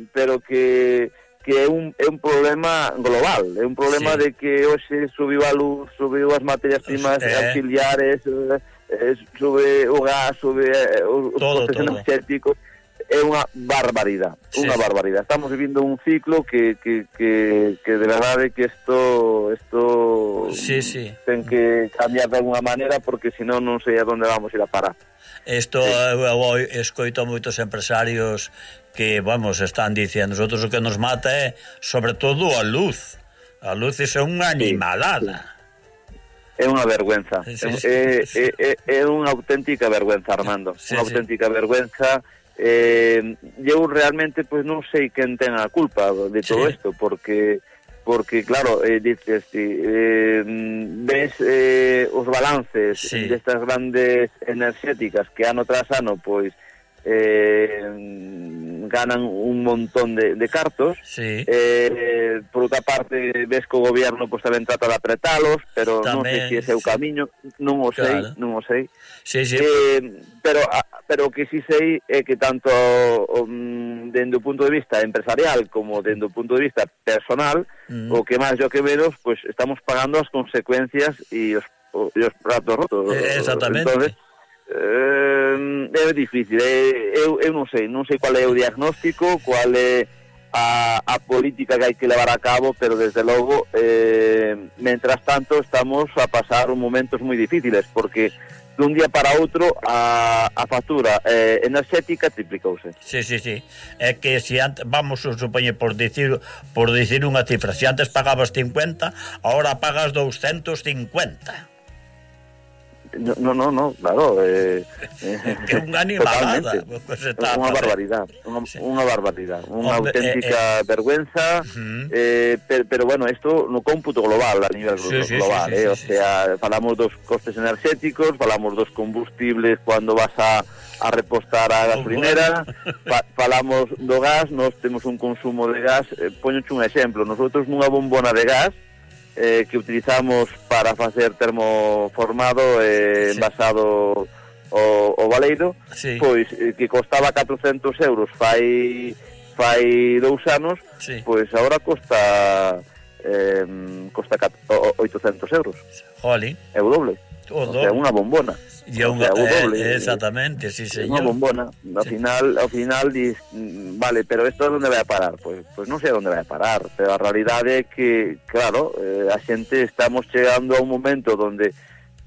pero que que é un é un problema global, é un problema sí. de que hoxe subiu a luz, subiu as materias primas eh. auxiliares, eh, sube o gas, sube eh, os processos energéticos. É unha barbaridade, sí, unha barbaridade. Estamos vivindo un ciclo que, que, que, que de verdade que isto isto sí, sí. ten que cambiar de alguna maneira, porque senón non sei a onde vamos ir a parar. Isto sí. Eu escoito moitos empresarios que, vamos, están dicendo, nosotros o que nos mata é sobre todo a luz. A luz é unha animalada. Sí, sí. É unha vergüenza. Sí, sí, é, sí. É, é, é unha auténtica vergüenza, Armando. Sí, unha auténtica sí. vergüenza. Eh, eu realmente pues non sei quen ten a culpa de todo isto, sí. porque porque claro, eh, dices eh, ves eh, os balances sí. destas grandes enerxéticas que ano tras ano pois eh, ganan un montón de, de cartos. Sí. Eh, por outra parte, ves que o goberno pues, tamén trata de apretalos, pero non sei se ese é o sí. camiño, non o sei, Claro. non o sei. Sí, sí. Eh, pero a, pero o que sí sei é que tanto um, dende o punto de vista empresarial como dende o punto de vista personal, Mm. o que máis e o que menos, pues estamos pagando as consecuencias e os, o, e os pratos rotos. Eh, exactamente. Entonces, eh, é difícil, eh, eu, eu non sei, non sei cual é o diagnóstico, cual é a, a política que hai que levar a cabo, pero desde logo, eh, mentras tanto, estamos a pasar momentos moi difíciles, porque dun día para outro a, a factura eh, enerxética triplicouse. Sí, sí, sí. É que se antes, vamos a supoñer por dicir por dicir unha cifra, se antes pagabas cincuenta, ahora pagas doscientos cincuenta. No, no, no, no, claro, eh, eh, Que unha animalada, pues está unha a facer. barbaridade, unha, Sí. unha barbaridade, unha Hombre, auténtica eh, eh. vergüenza, Uh-huh. eh, pero, pero bueno, isto no cómputo global, a nivel Sí, sí, global, sí, sí, eh, o sí, sea, falamos dos costes enerxéticos, falamos dos combustibles cuando vas a, a repostar a gasolinera, fa, falamos do gas, nós temos un consumo de gas, eh, poñoche un exemplo, nosotros nunha bombona de gas, Eh, que utilizamos para facer termoformado eh, Sí. envasado o, o baleiro, Sí. pois eh, que costaba catrocentos euros fai fai dous anos, Sí. pois agora costa eh, costa cat- o- oitocentos euros, Jolín. é o doble, O o sea, doble. unha bombona. E é O unha, sea, o doble, eh, eh, exactamente, sí, É unha señor. bombona. Ao Sí. final, ao final dis, mm, vale, pero isto onde vai a parar? Pois, pois non sei onde vai a parar, pero a realidade é que, claro, eh, a xente estamos chegando a un momento donde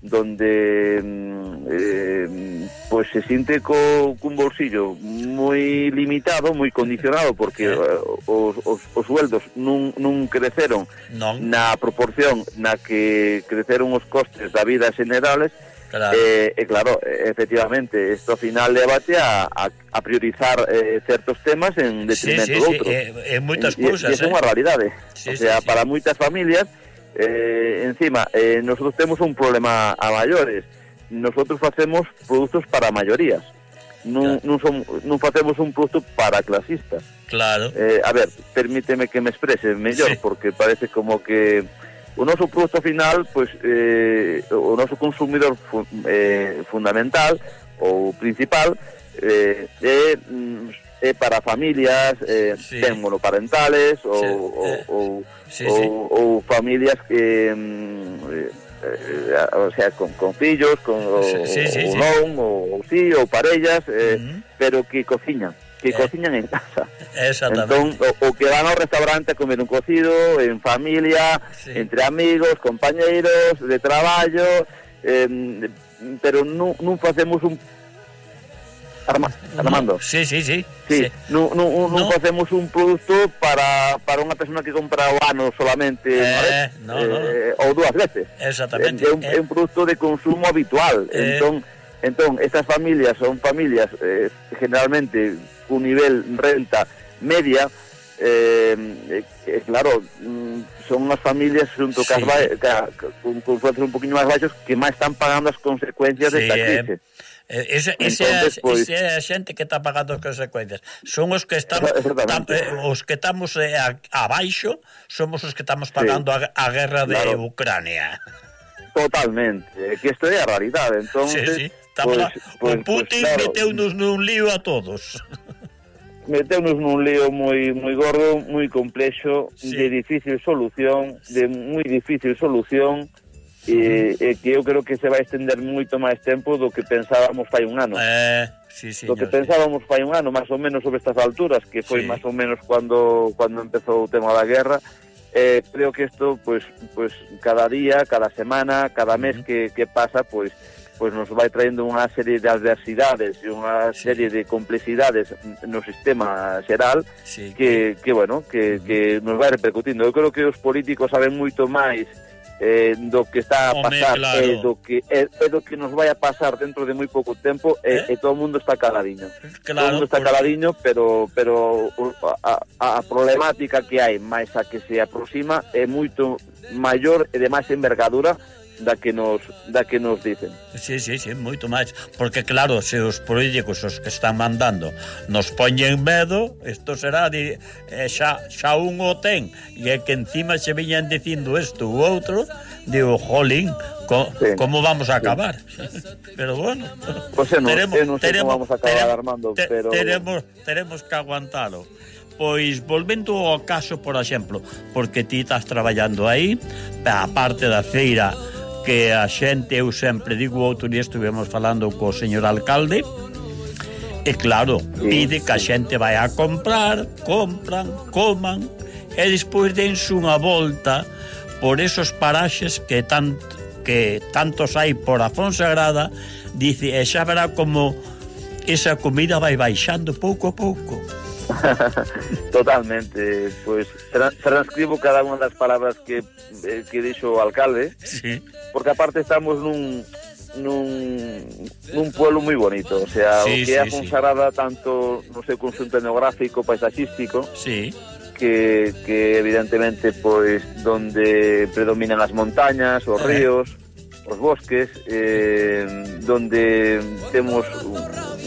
donde mm, eh, pois se sinte co, cun bolsillo moi limitado, moi condicionado, porque Sí. eh, os, os, os sueldos non, non creceron Non, na proporción na que creceron os costes da vida generales. claro. Eh, e claro, eh, efectivamente, isto ao final levate a, a, a priorizar eh, certos temas en Sí, detrimento sí, de sí, outros. eh, en moitas E- e- cousas, e esa é eh. unha realidade. Sí, o sí, sea, sí. para moitas familias, eh, encima, eh, nosotros temos un problema a maiores. Nosotros facemos produtos para maiorías. Non, Claro. non, son, non facemos un produto para clasistas. Claro. Eh, a ver, permíteme que me exprese mellor, Sí. porque parece como que o noso produto final, pues, eh, o noso consumidor fu eh, fundamental ou principal eh, é, mm, é para familias eh, Sí. ten monoparentales ou, Sí, ou, eh, ou, sí, ou, sí. ou familias que mm, eh, eh, o sea, con, con fillos, con o, Sí, sí, sí, ou sí. non, ou, ou sí, ou parellas, eh, Ujú. pero que cociñan, que Eh. cociñan en casa. Exactamente. Entón, o, o que van ao restaurante a comer un cocido, en familia, Sí. entre amigos, compañeiros, de traballo, eh, pero non, non facemos un... Arma, Armando, No, sí, sí, sí. sí, sí. non, non, non No. facemos un produto para, para unha persona que compra o ano solamente Eh, unha vez, no, no. eh, ou dúas veces. Exactamente. É un, Eh. é un produto de consumo habitual. Eh. Entón, entón estas familias son familias eh, generalmente cun nivel renta media, eh, eh, claro, mm, son unhas familias xunto Sí. cas ba- ca, ca, con, con sueldos un poquinho máis baixos que máis están pagando as consecuencias Sí, desta eh. crise. Eh, Ese, ese, Entonces, é, pois- ese é a xente que está pagando as consecuencias. Son os que estamos tam, Exactamente. eh, os que estamos eh, a, abaixo, somos os que estamos pagando a, a guerra de Claro. Ucrania. Totalmente, eh, que isto é a realidade. Entón, Sí, sí. Estamos a, o Putin meteunos nun lío a todos. meteunos nun lío moi moi gordo, moi complexo, Sí. de difícil solución, de moi difícil solución, e, e que eu creo que se vai estender moito máis tempo do que pensábamos fai un ano. Eh, sí, do señor. que pensábamos fai un ano, máis ou menos sobre estas alturas, que foi Sí. máis ou menos cando cando empezou o tema da guerra. Eh, creo que isto, pues, pues cada día, cada semana, cada mes Uh-huh. que, que pasa, pues, pues nos vai traendo unha serie de adversidades e unha Sí. serie de complexidades no sistema xeral Sí, que, que bueno, que, que nos vai repercutindo. Eu creo que os políticos saben moito máis eh, do que está a Home, pasar claro. e do que é, é do que nos vai a pasar dentro de moi pouco tempo e, Eh? e todo o mundo está caladiño. todo o claro, mundo está porque- caladiño, pero pero o- a, a, a problemática que hai máis a que se aproxima é moito maior e de máis envergadura da que nos da que nos dicen. Sí, sí, sí, moito máis, porque claro, se os políticos os que están mandando nos poñen medo, isto será de, eh, xa, xa un o ten, e é que encima se viñan dicindo isto ou outro, digo, jolín, co, sí. como vamos a acabar? Sí. Pero bueno, pues eu non, teremos, eu non sei teremos, como vamos a acabar, teremos, Armando, te, pero teremos, teremos que aguantalo. Pois, volvendo ao caso, por exemplo, porque ti estás traballando aí, a parte da feira, que a xente, eu sempre digo, outro día estuvemos falando co señor alcalde, e claro, sí, pide que a xente vai a comprar, compran, coman, e despois dense unha volta por esos paraxes que, tant, que tantos hai por a Fonsagrada, dice, e xa verá como esa comida vai baixando pouco a pouco. Totalmente, pois tra transcribo cada unha das palabras que, eh, que dixo o alcalde, sí. Porque aparte estamos nun nun, nun pueblo moi bonito, o sea, sí, o que é sí, a Fonsagrada sí. Tanto no seu conxunto etnográfico, paisaxístico, sí. que, que evidentemente pois donde predominan as montañas, os eh. ríos, os bosques, eh, donde temos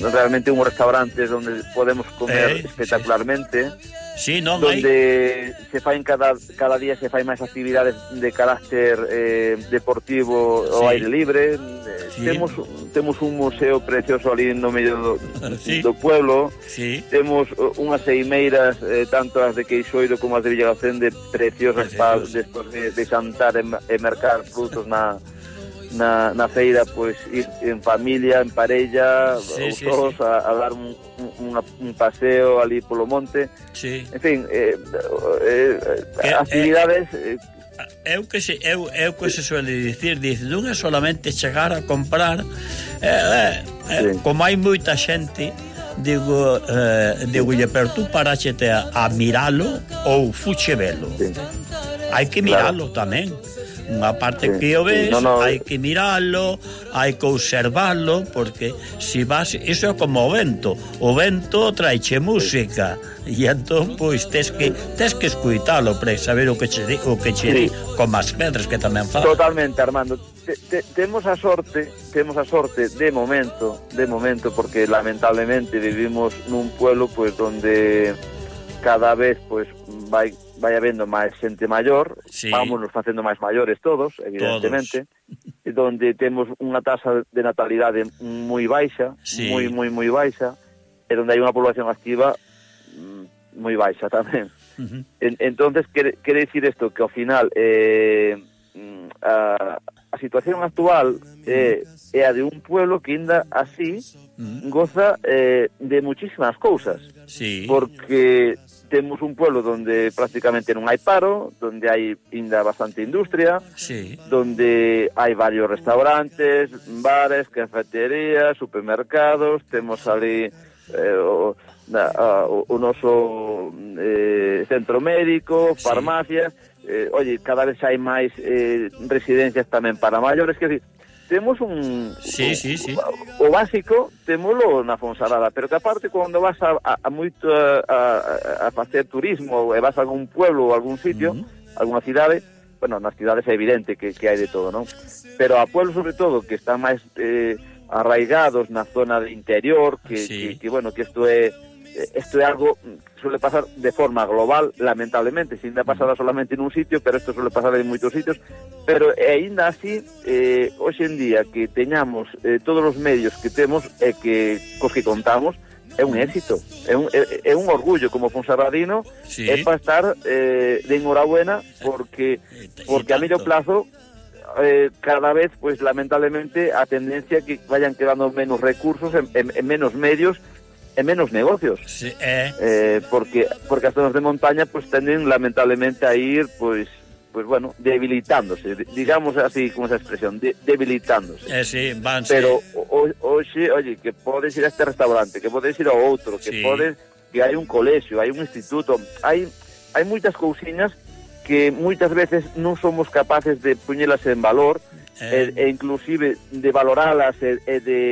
realmente uns restaurantes donde podemos comer eh, espectacularmente, sí. Sí, non, donde hai... se faen cada, cada día se fai máis actividades de carácter eh, deportivo sí. Ao aire libre, sí. temos, temos un museo precioso ali no medio do, sí. do pueblo, sí. Temos unhas ceimeiras, eh, tanto as de Queixoiro como as de Villagacén, de preciosas para despois de, de xantar e, e mercar frutos na Na, na feira, pois ir en familia, en parella, sí, sí, todos sí. A, a dar un, un, un paseo ali polo monte, sí. En fin, eh, eh, eh, actividades eh, eu que se eu, eu que se suele dicir, dice, non é solamente chegar a comprar, eh, eh, eh, sí. Como hai moita xente, digo, eh, digo, pero tú paraxete a, a miralo ou fuche velo, sí. Hai que miralo, claro. Tamén unha parte sí, que o ves, sí, no, no, hai que miralo, hai que observarlo, porque si vas, iso é como o vento, o vento traiche música, e entón pois tes que tes que escuitalo para saber o que che di, o que che di, sí. Como as pedras que tamén falan. Totalmente, Armando. Te, te, temos a sorte, temos a sorte de momento, de momento, porque lamentablemente vivimos nun pueblo pois donde cada vez pois vai vai habendo máis xente maior, sí. Vámonos facendo máis maiores todos, evidentemente, todos. Donde temos unha tasa de natalidade moi baixa, sí. moi, moi, moi baixa, e donde hai unha población activa moi baixa tamén. Uh-huh. en, entonces, quere, quere dicir isto, que ao final eh, a, a situación actual é, é a de un pueblo que ainda así uh-huh. Goza eh, de muchísimas cousas, sí. Porque temos un pueblo donde prácticamente non hai paro, donde hai ainda bastante industria, sí. Donde hai varios restaurantes, bares, cafeterías, supermercados, temos ali eh, o, na, a, o, o noso eh, centro médico, farmacias, sí. eh, oye, cada vez hai máis eh, residencias tamén para maiores, que decir, temos un... Sí, sí, sí. O, o básico, temolo na Fonsagrada, pero que aparte, cando vas a, a, a moito a, a, a facer turismo, e vas a algún pueblo ou algún sitio, uh-huh. Alguna cidade, bueno, nas cidades é evidente que, que hai de todo, non? Pero a pueblos, sobre todo, que están máis eh, arraigados na zona de interior, que, sí. que, que, bueno, que isto é... Esto é algo que suele pasar de forma global, lamentablemente, sin ainda pasada solamente nun sitio, pero isto suele pasar en moitos sitios, pero ainda así, eh, hoxe en día que teñamos eh, todos os medios que temos e que cos que contamos, é un éxito, é un, é, é un orgullo como fonsagradino, sí. É para estar eh, de enhorabuena, porque, porque a medio plazo eh, cada vez, pues lamentablemente, a tendencia que vayan quedando menos recursos, en, en, en menos medios, en menos negocios, sí, eh. Eh, porque porque as zonas de montaña pues tenden lamentablemente a ir pues pues bueno, debilitándose, digamos así con esa expresión, de, debilitándose. Eh, sí, van, pero sí. Hoxe, oye, que podes ir a este restaurante, que podes ir a outro, que sí. Podes, que hai un colexio, hai un instituto, hai hai moitas cousiñas que moitas veces non somos capaces de poñelas en valor, eh. e, e inclusive de valoralas e, e de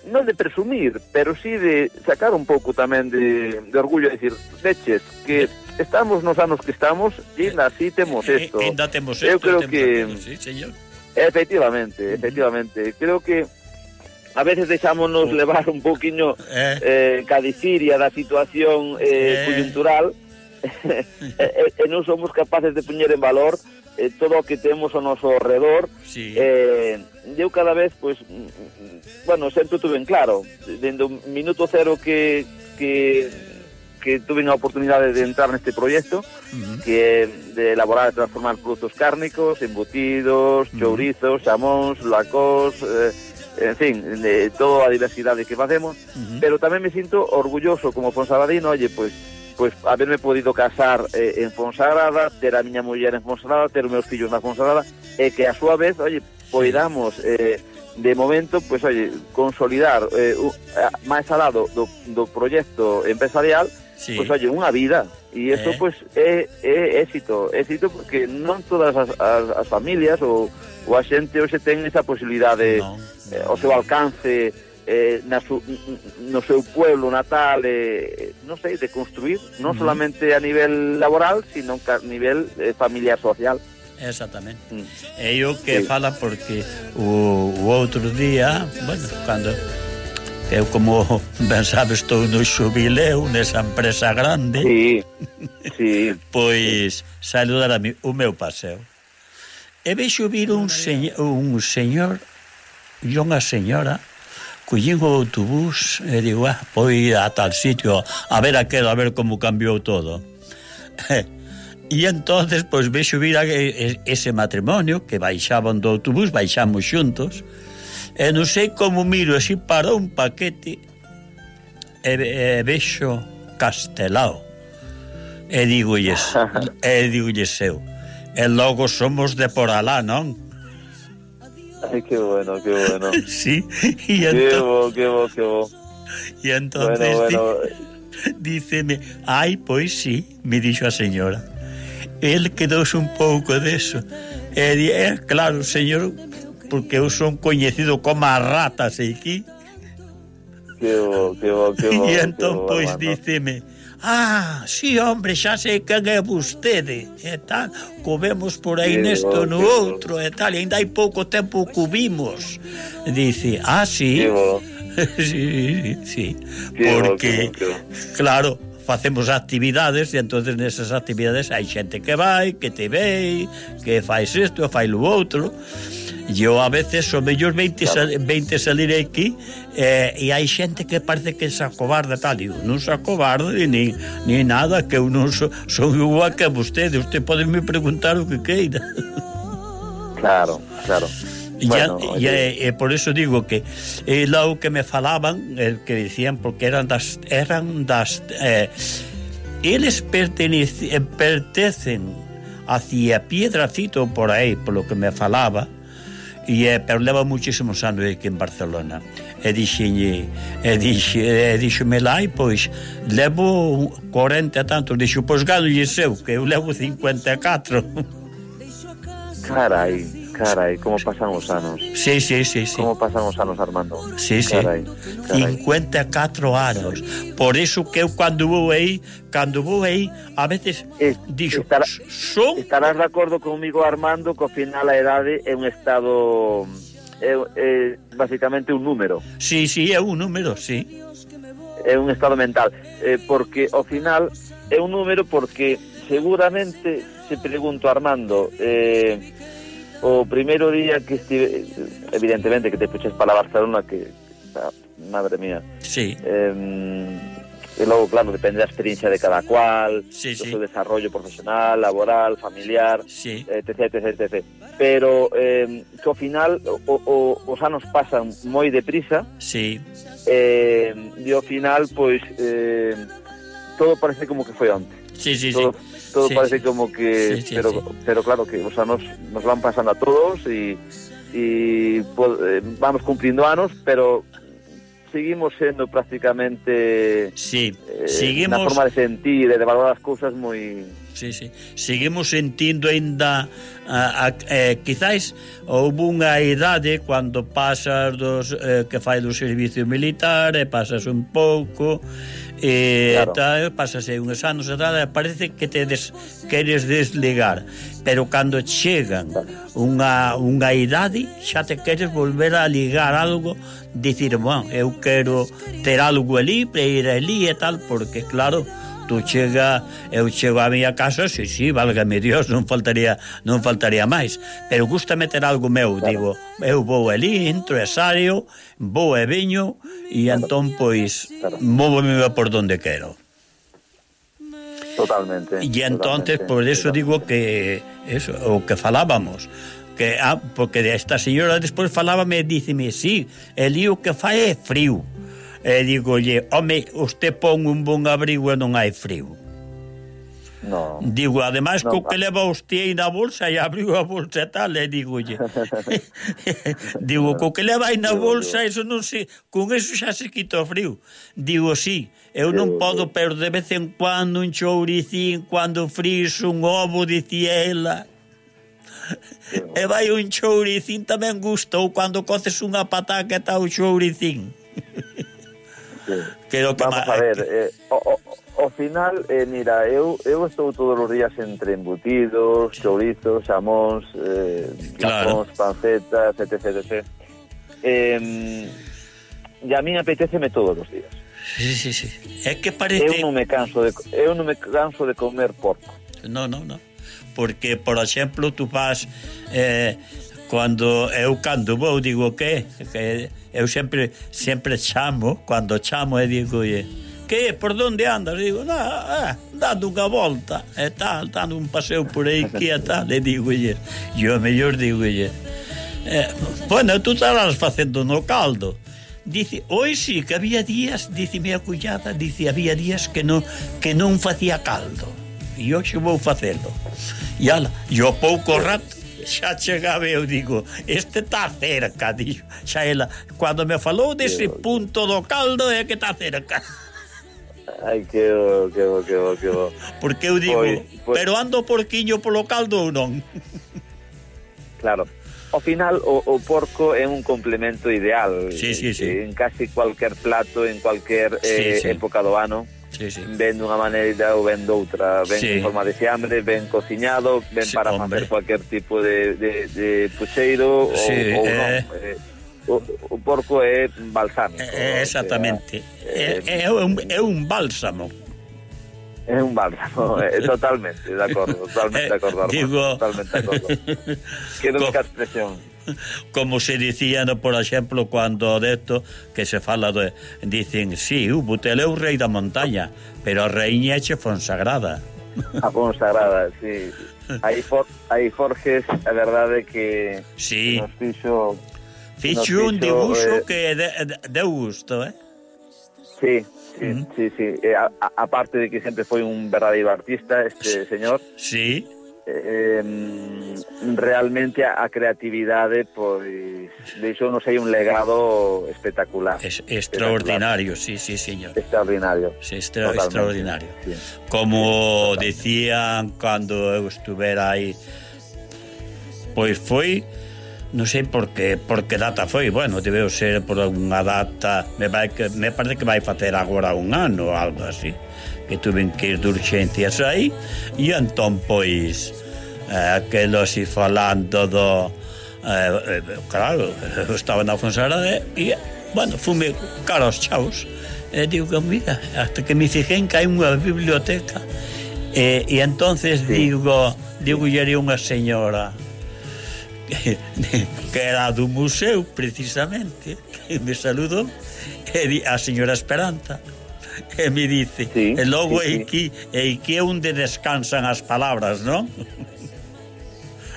non de presumir, pero sí de sacar un pouco tamén de, de orgullo, de decir, veches, que estamos nos anos que estamos e ainda así temos isto. E ainda temos isto. Eu creo temos que temos, sí, señor. Efectivamente, efectivamente. Creo que a veces deixámonos levar un pouquiño eh, eh, cadiciria da situación eh, eh. coyuntural e, e non somos capaces de poñer en valor eh, todo o que temos ao noso redor. Sí. Eh, eu cada vez, pois, bueno, sento tú ben claro, dende o minuto cero que que que tuve a oportunidade de entrar neste proxecto, uh-huh. que é de elaborar e transformar produtos cárnicos, embutidos, uh-huh. chourizos, xamóns, lacós, eh, en fin, de toda a diversidade que facemos, uh-huh. pero tamén me sinto orgulloso como fonsagadino, oye, pois, pois haberme podido casar eh, en Fonsagrada, ter a miña muller en Fonsagrada, ter os meus fillos na Fonsagrada, e que a súa vez, oye, poidamos eh, de momento, pois, oye, consolidar eh, uh, máis alado do, do proxecto empresarial, sí. pois, oye, unha vida, e isto, eh. pois, é, é éxito, éxito porque non todas as, as, as familias ou, ou a xente hoxe ten esa posibilidade no. eh, ao seu alcance eh, na su, no seu pueblo natal, eh, non sei, de construir, non mm. solamente a nivel laboral, sino a nivel eh, familiar social. Exactamente. Mm. É o que sí. fala porque o, o outro día, bueno, cando eu, como ben sabes, estou no xubileo nesa empresa grande. Sí, sí. Pois saludar a mi, o meu paseo. E vexo vir un, señor, un señor e unha señora collín o autobús e digo, ah, pois a tal sitio a ver aquelo, a ver como cambiou todo. E entonces, pois, vexo vir a, a, ese matrimonio que baixaban do autobús, baixamos xuntos, e non sei como miro así para un paquete e, e vexo Castelao e digolles e digolles eu e logo somos de por alá, non? Ai, que bueno, que bueno. Sí, e entón, que bo, que bo, que bo. E entonces bueno, bueno. díceme, ai, pois sí, me dixo a señora. El quedouse un pouco deso. E di, eh, claro, señor, porque eu son coñecido como a ratas aquí. Que bo, que bo, que bo. E entón, pois, díceme, ah, sí, hombre, xa sei quen é vostede, e tal, comemos por aí que nesto bo, no outro, bo. E tal, e ainda hai pouco tempo que vimos. Dice, ah, sí. Que bo. sí, sí, que porque, bo, que bo, que bo. claro, facemos actividades e entonces nesas actividades hai xente que vai, que te ve, que fais isto, fai lo outro. Eu a veces o mellor veinte, sal, veinte salir aquí eh, e hai xente que parece que se acobarda tal, digo, non se acobarda ni, ni nada, que eu non so, son igual que vostede, usted pode me preguntar o que queira. Claro, claro. E, bueno, e, e, e por eso digo que e logo que me falaban, el que dicían, porque eran das eran das eh, eles pertenecen pertenecen hacia Piedrafito por aí, polo que me falaba, e eh, pero leva muchísimos anos aquí en Barcelona. E dixenlle, e dixe, e dixome lá, e pois levo cuarenta e tantos, dixo, pois gano e seu, que eu levo cincuenta e catro. Carai. Carai, como pasan os anos. Sí, sí, sí, sí. Como pasan os anos, Armando. Sí, sí. Carai, carai. cincuenta e catro anos. Por eso que eu cando vou aí, cando vou aí, a veces es, dixo, estará, son... Estarás de acordo comigo, Armando, que ao final a idade é un estado... É, é basicamente un número. Sí, sí, é un número, sí. É un estado mental. Eh, porque ao final é un número porque seguramente, se pregunto, Armando... Eh, o primeiro día que estive, evidentemente que te puxes para Barcelona, que, madre mía, sí. Eh, e logo, claro, depende da experiencia de cada cual, sí, do sí. seu desarrollo profesional, laboral, familiar, sí. etc, etc, etc. Pero eh, que ao final o, o, os anos pasan moi deprisa, sí. eh, e ao final, pois, eh, todo parece como que foi onte. Sí, sí, todo, sí. Todo sí, parece sí. como que... Sí, sí, pero, sí. pero claro que os anos nos van pasando a todos y, y pues, vamos cumpliendo anos, pero seguimos sendo prácticamente... Sí, eh, seguimos... na forma de sentir e de valorar as cousas moi... sí, sí. Seguimos sentindo ainda a, a, eh, quizás houve unha idade cando pasas dos eh, que fai do servicio militar e pasas un pouco e claro. Tal, pasas aí uns anos e tal, e parece que te des, queres desligar, pero cando chegan unha, unha idade xa te queres volver a ligar algo, dicir, bueno, eu quero ter algo ali para ir ali e tal, porque claro, tú chega, eu chego á miña casa, sí, sí, válgame Dios, non faltaría non faltaría máis, pero gusta meter algo meu, claro. Digo, eu vou ali, entro e saio, vou e viño e claro. Entón, pois, claro. Móvome por donde quero. Totalmente. E entonces, totalmente. Por eso digo que eso, o que falábamos, que ah, porque esta señora despois falábame e díceme, sí, el lío que fai é frío. E digolle, home, usted pon un bon abrigo e non hai frío. No. Digo, ademais, no, co que leva usted aí na bolsa e abrigo a bolsa e tal, e digolle. Digo, co que leva aí na bolsa, eso non se, con eso xa se quita o frío. Digo, sí, eu non podo, pero de vez en cuando un chouricín, cando friso un ovo, dicía ela. E vai un chouricín tamén gusta, ou cando coces unha pataca e está o chouricín. Sí. Creo que vamos a ver, eh, o, o, o final, eh, mira, eu, eu estou todos os días entre embutidos, chourizos, xamóns, eh, claro. xamóns, pancetas, etc, etcétera. Eh, e a mí apeteceme todos os días. Sí, sí, sí. É que parece... Eu non me canso de, eu non me canso de comer porco. No, no, no. Porque, por exemplo, tú vas... Eh, Cando eu cando vou digo que, que eu sempre sempre chamo, cando chamo e digo, que, por onde andas? Digo, ah, dando unha volta e tal, dando un paseo por aí que e tal, e digo, e o mellor digo, eh, bueno, tú estarás facendo no caldo. Dice, oi sí, que había días, dice minha cuñada, dice, había días que non que non facía caldo. E hoxe vou facelo. E ala, e o pouco rato xa chegaba, eu digo, este está cerca, dixo, xa ela, cando me falou dese punto do caldo é que está cerca. Ai, que bo, que bo, que bo, que bo. Porque eu digo, pois, pois... pero ando porquiño polo caldo ou non? Claro, ao final o, o porco é un complemento ideal, sí, sí, sí. En casi cualquier plato, en cualquier eh, sí, sí. época do ano. Sí, sí. Ven dunha maneira ou ven doutra, ven sí. en forma de xambre, ven cociñado, ven sí, para facer cualquier tipo de, de, de puxeiro sí, ou, ou eh... non. Eh, o, o porco é balsámico. Eh, exactamente. É, é, é, un, é un bálsamo. É un bálsamo, é, totalmente, de acordo, totalmente de acordo. Digo... Totalmente de acordo. Quero que a expresión. Como se dicía, no, por exemplo, cando de esto que se fala de, dicen, sí, uh, Buteleu rei da montaña, pero a reiña che Fonsagrada. A Fonsagrada, sí. Aí, for, aí Forges, a verdade que sí. nos fixo fixo un dibuixo eh, que de, de, deu gusto, eh? Sí, sí, uh-huh. sí, sí. Eh, a, a parte de que sempre foi un verdadeiro artista este señor. Sí. Eh, realmente a, a creatividade pois deixou non sei un legado espectacular. Es extraordinario, espectacular. Sí, sí, señor. Extraordinario. Sí, extra, extraordinario. Sí. Como decían cando eu estuvera aí, pois foi, non sei por que, por que data foi, bueno, debeu ser por unha data, me, vai que, me parece que vai facer agora un ano ou algo así, que tuven que ir de urgencias aí, e entón, pois, eh, aquelo así falando do... Eh, eh, claro, eu estaba na Fonsagrada e, bueno, fume cara aos chaos. E digo que, mira, hasta que me fijei en que hai unha biblioteca. E, e entonces sí. digo, digo, e era unha señora que, que era do museo, precisamente, que me saludou, e a señora Esperanza. E me dice, sí, e logo sí, sí. Aquí, e aquí é onde descansan as palabras, non?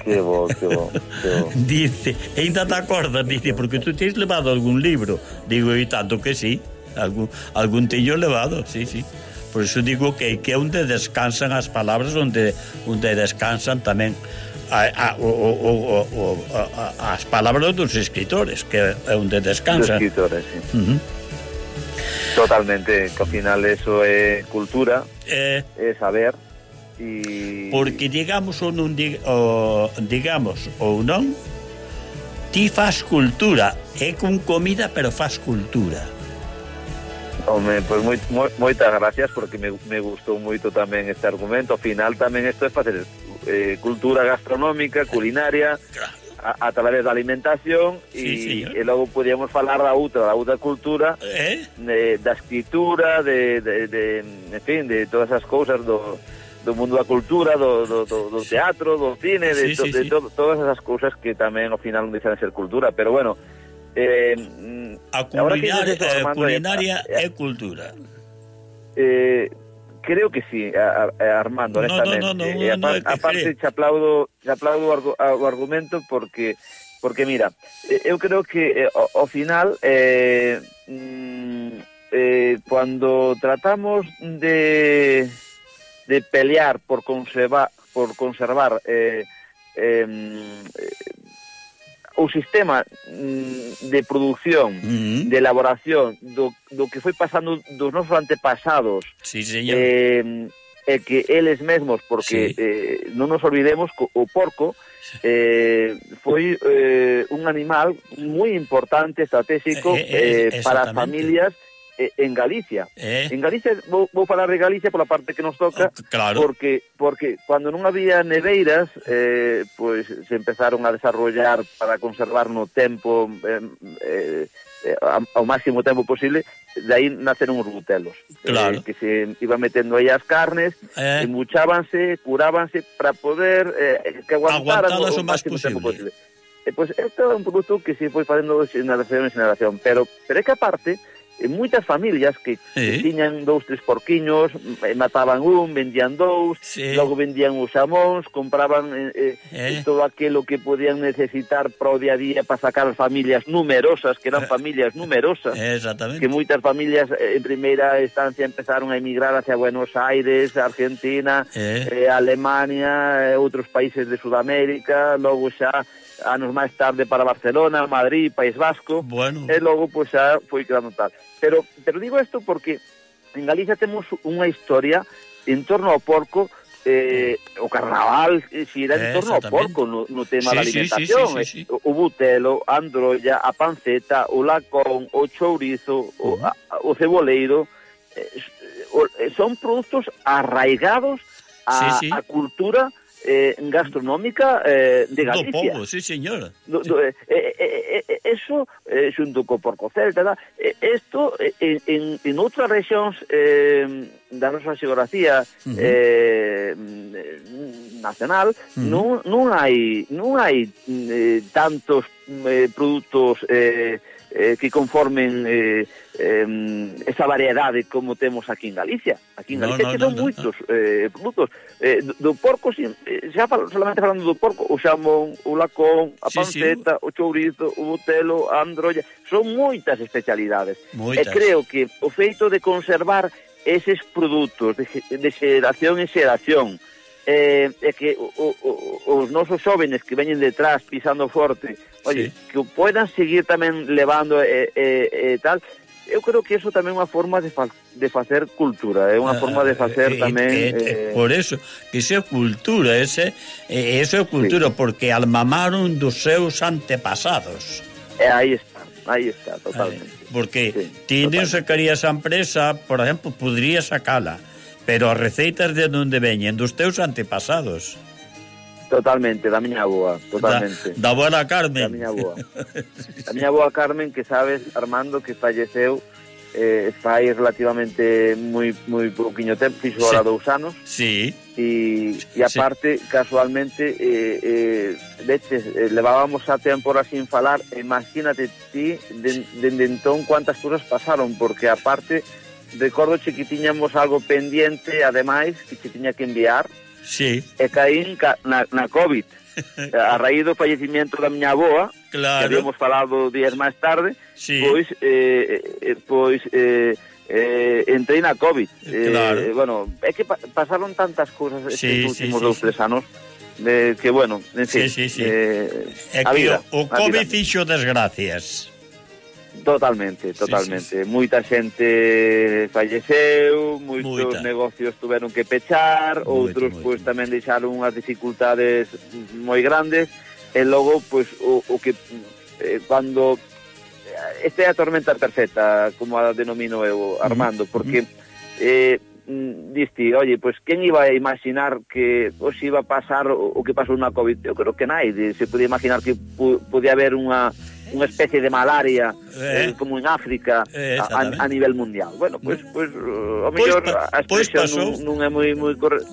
Que bo, que bo, que bo. Dice, e ainda te acordas, dice, porque tú tens levado algún libro. Digo, e tanto que sí, algún, algún teño levado, sí, sí. Por eso digo que aquí é onde descansan as palabras, onde, onde descansan tamén a, a, o, o, o, o, a, as palabras dos escritores, que é onde descansan. Dos escritores, sí. Uh-huh. Totalmente, que ao final eso é cultura, eh, é saber, E... Porque digamos ou non dig, o, digamos ou non, ti fas cultura, é con comida, pero fas cultura. Home, pois moi, moi, moitas gracias, porque me, me gustou moito tamén este argumento. Ao final tamén isto é facer eh, cultura gastronómica, culinaria, a, a través da alimentación, sí, e, e logo podíamos falar da outra, da outra cultura, eh? de, da escritura, de, de, de, en fin, de todas as cousas do, do mundo da cultura, do, do, do, do teatro, do cine, de, sí, to, sí, de sí. to, todas esas cousas que tamén ao final non deixan de ser cultura, pero bueno, eh, a culinaria, eso, eh, Armando, culinaria eh, é cultura. Eh, creo que sí, a, a, Armando, no, honestamente. no, no, no, eh, no, aparte, no, aparte te aplaudo, te aplaudo o, argu, o argumento porque porque mira, eh, eu creo que eh, ao, ao final eh, mm, eh, cuando tratamos de de pelear por conservar por conservar eh, eh, eh, o sistema de produción, uh-huh. de elaboración do, do que foi pasando dos nosos antepasados, sí, señor. Eh, e que eles mesmos, porque sí. eh, non nos olvidemos que o porco eh, foi eh, un animal moi importante, estratégico eh, eh, para as familias en Galicia. Eh. En Galicia, vou, vou falar de Galicia pola parte que nos toca, oh, claro. porque porque cando non había neveiras, eh, pois se empezaron a desarrollar para conservar no tempo eh, eh, ao máximo tempo posible, de aí naceron os butelos. Claro. Eh, que se iban metendo aí as carnes, eh. embuchábanse, curábanse para poder eh, que aguantaran o, o máximo tempo posible. Eh, pois este é un produto que se foi facendo de generación en generación, pero, pero é que aparte en moitas familias que, sí. que tiñan dous, tres porquiños, mataban un, vendían dous, sí. logo vendían os xamóns, compraban eh, eh. todo aquilo que podían necesitar para o día a día para sacar as familias numerosas, que eran familias numerosas, exactamente. Que moitas familias eh, en primeira instancia empezaron a emigrar hacia Buenos Aires, Argentina, eh. Eh, Alemania, eh, outros países de Sudamérica, logo xa anos máis tarde para Barcelona, Madrid, País Vasco, bueno. E logo pois xa foi quedando tal. Pero, pero digo isto porque en Galicia temos unha historia en torno ao porco, eh, o carnaval xira en torno ao porco no, no tema sí, da alimentación, sí, sí, sí, sí. o butelo, a androlla, a panceta, o lacón, o chourizo, uh-huh. o, a, o ceboleiro, eh, o, son produtos arraigados a, sí, sí. a cultura Eh, gastronómica eh, de Galicia. Do povo, sí, señor. Do, do, eh, eh, eh, eso, eh, xunto co porco celta, eh, esto eh, en, en outras rexións eh, da nosa xeografía uh-huh. eh, nacional uh-huh. non, non hai non hai eh, tantos eh, produtos eh, eh, que conformen eh, eh, esa variedade como temos aquí en Galicia. Aquí en Galicia no, no, que son no, moitos no. eh, produtos. Eh, do, do porco, xa fal, solamente falando do porco, o xamón, o lacón, a sí, panceta, sí. o chourizo, o butelo, a androlla, son moitas especialidades. Moitas. E creo que o feito de conservar eses produtos de, de xeración en xeración, eh, é que o, o, os nosos xóvenes que veñen detrás pisando forte, oye, sí. que o poidan seguir tamén levando e, e, e tal, eu creo que eso tamén é unha forma de, fa, de facer cultura, é unha uh, forma de facer eh, tamén eh, eh, por eso, que iso é cultura, ese, eh, eso é cultura, sí. Porque almamaron dos seus antepasados. E aí está, aí está, totalmente. Eh, porque sí, ti non sacarías a empresa, por exemplo, podría sacala, pero as receitas de onde veñen dos teus antepasados. Totalmente, da miña aboa, totalmente. Da, da boa Carmen. Da miña aboa. Da miña aboa Carmen, que sabes, Armando, que falleceu eh, fai relativamente moi moi pouquiño tempo, fixo sí. Ahora dous anos. Sí. E, e aparte, sí. Casualmente, eh, eh, veches, eh, levábamos a tempo ahora sin falar, imagínate ti, dende de, de entón, cuántas cousas pasaron, porque aparte, recordo que tiñamos algo pendiente, ademais, que se tiña que enviar, sí. E caín na, na COVID a raíz do fallecimiento da miña aboa, claro. Que habíamos falado días máis tarde, sí. Pois eh, eh, pois eh, eh, entrei na COVID, claro. eh, bueno, é que pa pasaron tantas cousas sí, estes últimos sí, dous, sí, tres anos de, que bueno, en fin, sí, sí, sí. Eh, é que vida, o, o COVID fixo desgracias. Totalmente, totalmente. Sí, sí, sí. Moita xente falleceu, moitos Moita. negocios tuveron que pechar, moito, outros moito, pois moito. tamén deixaron unhas dificultades moi grandes, e logo pois o, o que eh, cando esta é a tormenta perfecta, como a denomino eu, Armando, porque eh, diste, oye, pois quen iba a imaginar que pois iba a pasar o, o que pasou na COVID? Eu creo que naide se podía imaginar que pu, podía haber unha unha especie de malaria eh, eh, como en África eh, a, a nivel mundial. Bueno, pois pues, pues, o mellor pues, a expresión pues non, non é moi moi correcta.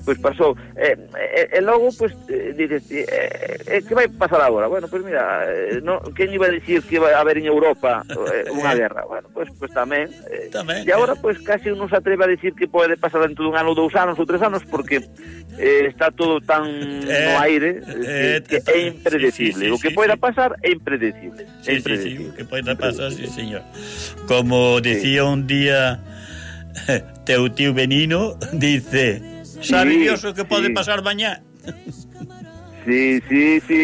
Pois pues pasou. E, e, e logo, pois, pues, dices, e, e, que vai pasar agora? Bueno, pois pues mira, no, quen iba a dicir que iba a haber en Europa eh, unha guerra? Bueno, pois pues, pues, tamén. Eh, e agora, pois, pues, casi non se atreve a dicir que pode pasar dentro dun ano, dous anos ou tres anos, porque eh, está todo tan eh, no aire eh, que, que é impredecible. Sí, sí, sí, o que poida pasar é impredecible. Sí, é impredecible. sí, sí, o que poida pasar, sí, señor. Como decía sí. un día teu tío Benino, dice... Sabe sí, Dios o que pode sí. pasar mañá. Sí, sí, sí,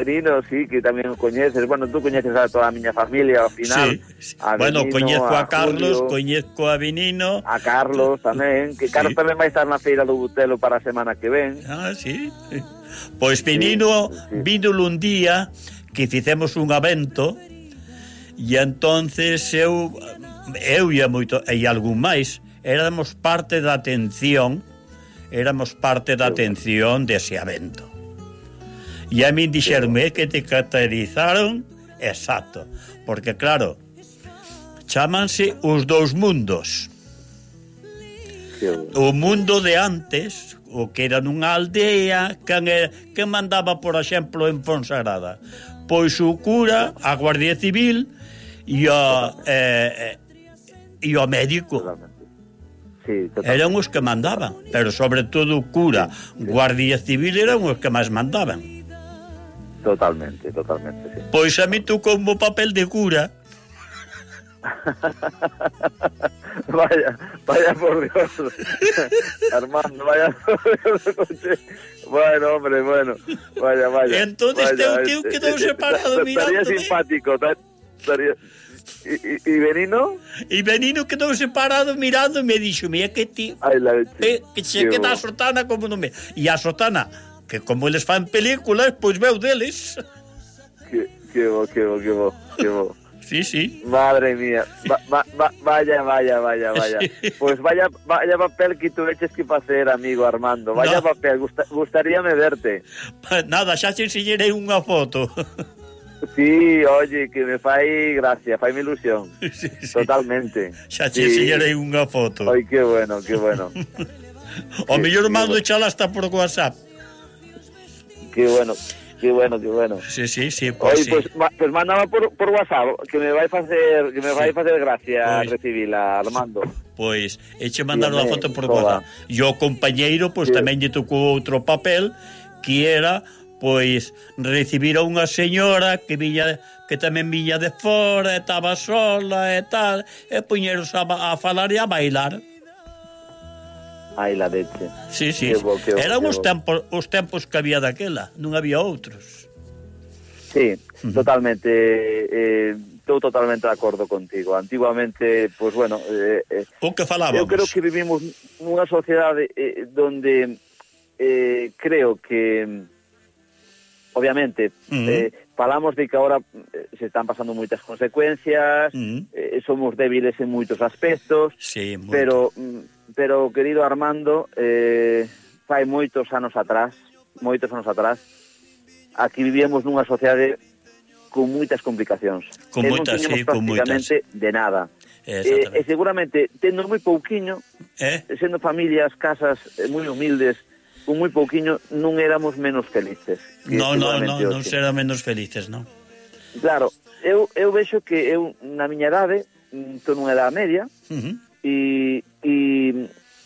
Benino, sí, que tamén o coñeces. Bueno, tú coñeces a toda a miña familia ao final. Sí, sí. A bueno, Benino, coñezco a, a Carlos, Julio, coñezco a Benino. A Carlos tamén, que Carlos sí. tamén vai estar na feira do Butelo para a semana que ven. Ah, sí. Pois Benino sí, sí. vínolo un día que fixemos un evento e entonces eu eu e moito e algún máis éramos parte da atención éramos parte da atención dese evento. E a min dixeronme que te caracterizaron exacto, porque claro, chámanse os dous mundos. O mundo de antes, o que era nunha aldea, quen, era, quen mandaba, por exemplo, en Fonsagrada? Pois o cura, a Guardia Civil e o, eh, e o médico. Sí, eran os que mandaban, pero sobre todo o cura, sí, sí. Guardia Civil eran os que máis mandaban. Totalmente, totalmente, sí. Pois a mí tú como papel de cura. vaya, vaya por Dios. Armando, vaya por Dios. Bueno, hombre, bueno. Vaya, vaya. Entonces teu tío quedou separado mirándome. Estaría simpático, estaría... ¿Y, y, y Benino? Y Benino quedou separado mirando e me dixo, mira que ti Ay, la eh, que se queda a sotana como non me... E a sotana, que como eles fan películas, pois veu deles. Que, que bo, que bo, que bo, que bo. Sí, sí. Madre mía. Va, va, va, vaya, vaya, vaya, vaya. Sí. Pues vaya, vaya papel que tuveches que facer, amigo Armando. Vaya no. papel, Gusta, gustaríame verte. Nada, xa te enseñarei unha foto. Sí, oye, que me fai gracia, fai mi ilusión. Sí, sí. Totalmente. Xa te sí. enseñarei unha foto. Ai, que bueno, que bueno. O mellor mando echala hasta por WhatsApp. Que bueno, que bueno, que bueno. Sí, sí, sí, pues Oye, sí. pues, ma, pues mándame por, por WhatsApp, que me vai facer, que me vai sí. facer gracia pues, recibila, Armando. Pois, eche mandar unha foto por WhatsApp. E o compañeiro, pois pues, sí. tamén lle tocou outro papel, que era... pois recibir a unha señora que viña, que tamén viña de fora, estaba sola e tal, e puñeros a, a falar e a bailar. Ai, la leche. Sí, sí. Bo, bo, eran os tempos, os tempos que había daquela, non había outros. Sí, uh-huh. totalmente. Eh, estou totalmente de acordo contigo. Antiguamente, pois pues, bueno, eh, eh, o que falábamos. Eu creo que vivimos nunha sociedade eh, donde eh, creo que obviamente, uh-huh. eh, falamos de que ahora eh, se están pasando moitas consecuencias, uh-huh. eh, somos débiles en moitos aspectos, sí, moito. pero pero querido Armando, eh, fai moitos anos atrás, moitos anos atrás, aquí vivíamos nunha sociedade con moitas complicacións. Con moitas, sí, con moitas. De nada. Eh, e seguramente, tendo moi pouquiño, eh? sendo familias, casas eh, moi humildes, con moi pouquiño, non éramos menos felices. No, no, no, non será menos felices, non. Claro, eu, eu vexo que eu, na miña idade, estou nunha idade media, uh-huh. e, e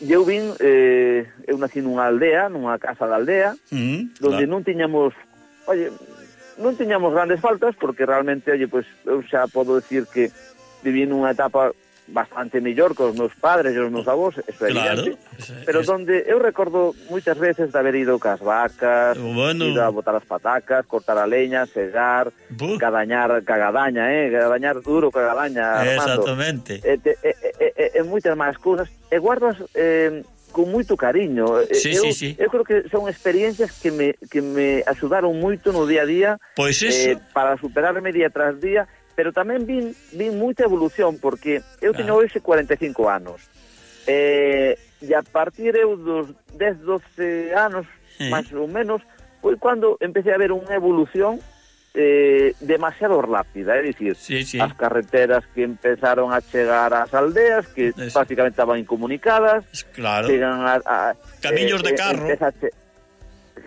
eu vin, eh, eu nací nunha aldea, nunha casa da aldea, uh-huh, donde claro. non tiñamos, oye, non tiñamos grandes faltas, porque realmente, oye, pues, eu xa podo decir que viví nunha etapa bastante mellor que os meus padres e os meus avós, eso é Claro, evidente, es- pero es- donde eu recordo moitas veces de haber ido cas vacas, Bueno. ido a botar as patacas, cortar a leña, segar, Bu. cadañar, cagadaña, eh, cagadañar duro, cagadaña, Armando. Exactamente. E, te, e, e, e, e moitas máis cousas, e guardas eh, con moito cariño. E- Sí, eu, sí, sí. eu creo que son experiencias que me, que me axudaron moito no día a día, Pois iso. eh, para superarme día tras día, pero tamén vin, vin moita evolución, porque eu teño Ah. hoxe cuarenta e cinco anos. Eh, e a partir eu dos dez, doce anos, Sí. máis ou menos, foi cando empecé a ver unha evolución eh, demasiado rápida, é dicir, Sí, sí. as carreteras que empezaron a chegar ás aldeas, que Eso. prácticamente estaban incomunicadas, Claro. chegan a, a Camiños de eh, carro. empeza a che-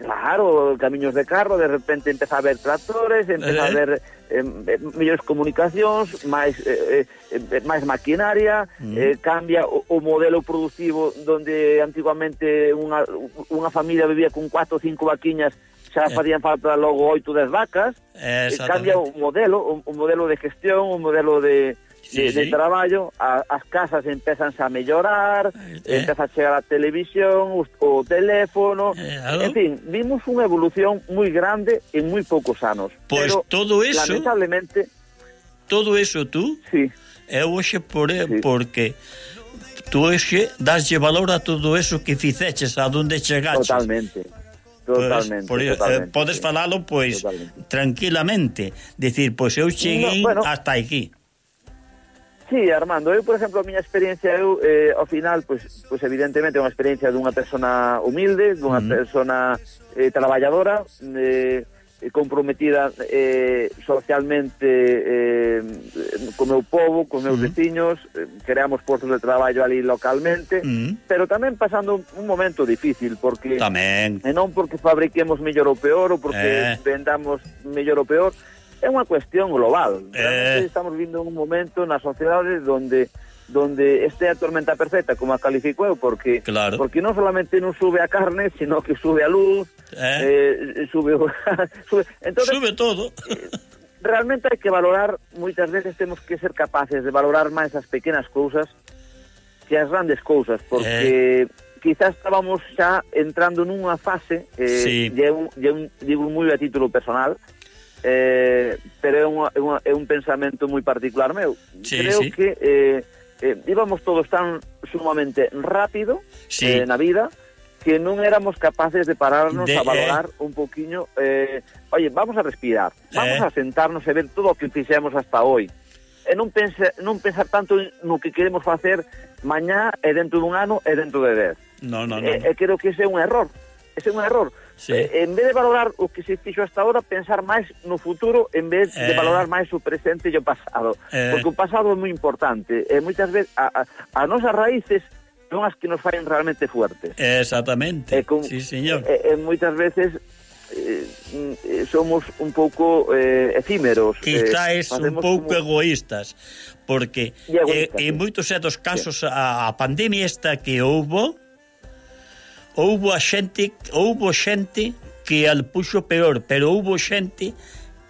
Claro, camiños de carro, de repente empeza a haber tractores, empeza Eh. a haber eh, eh, mellores comunicacións, máis eh, eh, máis maquinaria, Mm. eh, cambia o, o modelo productivo donde antiguamente unha, unha familia vivía con cuatro ou cinco vaquiñas, xa Eh. facían falta logo oito dez vacas. Eh, cambia o Exactamente. modelo, o, o modelo de gestión, o modelo de, Sí, de, de sí. traballo, a, as casas empezan a mellorar, Eh. empeza a chegar a televisión, o, o teléfono, Eh, algo. en fin, vimos unha evolución moi grande en moi poucos anos. Pois pero, todo eso- lamentablemente, Todo eso tú, sí, eu hoxe por, Sí. porque tú hoxe daslle valor a todo eso que ficeches, a donde chegaches. totalmente. Totalmente, Pois, por, eh, totalmente. podes sí. falalo, pois, Totalmente. tranquilamente. Decir, pois eu cheguei No, bueno. hasta aquí. Sí, Armando, eu, por exemplo, a miña experiencia, eu, eh, ao final, pois, pois evidentemente é unha experiencia dunha persona humilde, dunha Mm. persona eh, traballadora, eh, comprometida eh, socialmente eh, co meu povo, co meus Mm. veciños, eh, creamos postos de traballo ali localmente, Mm. pero tamén pasando un momento difícil, porque Tamén. e non porque fabriquemos mellor ou peor, ou Eh. porque vendamos mellor ou peor, é unha cuestión global. Eh. Realmente estamos vindo un momento na sociedade donde donde este é a tormenta perfecta, como a califico eu, porque Claro. porque non solamente non sube a carne, sino que sube a luz, Eh. eh, sube, o- sube. Entonces, Sube todo. realmente hai que valorar, moitas veces temos que ser capaces de valorar máis as pequenas cousas que as grandes cousas, porque eh. quizás estábamos xa entrando nunha fase, eh, Sí. e un, e un, digo moi a título personal, eh, pero é, unha, é, unha, é un pensamento moi particular meu. Sí, Creo sí. que eh, eh, íbamos todos tan sumamente rápido Sí. eh, na vida que non éramos capaces de pararnos De- a valorar un poquinho, eh, oye, vamos a respirar, vamos Eh. a sentarnos e ver todo o que fixemos hasta hoy, e non, pense, non pensar tanto no que queremos facer mañá e dentro dun ano e dentro de dez. No, no, no. E, e creo que ese é un error, ese é un error. Sí. Eh, en vez de valorar o que se fixo hasta ahora, pensar máis no futuro en vez de Eh. valorar máis o presente e o pasado. Eh. Porque o pasado é moi importante. E moitas veces a, a, as nosas raíces son as que nos faren realmente fuertes. Exactamente. E con- Sí, señor. E, e moitas veces eh, eh, somos un pouco eh, efímeros. Quizáis eh, un facemos pouco como- egoístas, porque E egoístas, eh, en sí. moitos dos casos a, a pandemia esta que houbo, houbo a xente, houbo xente que al puxo peor, pero houbo xente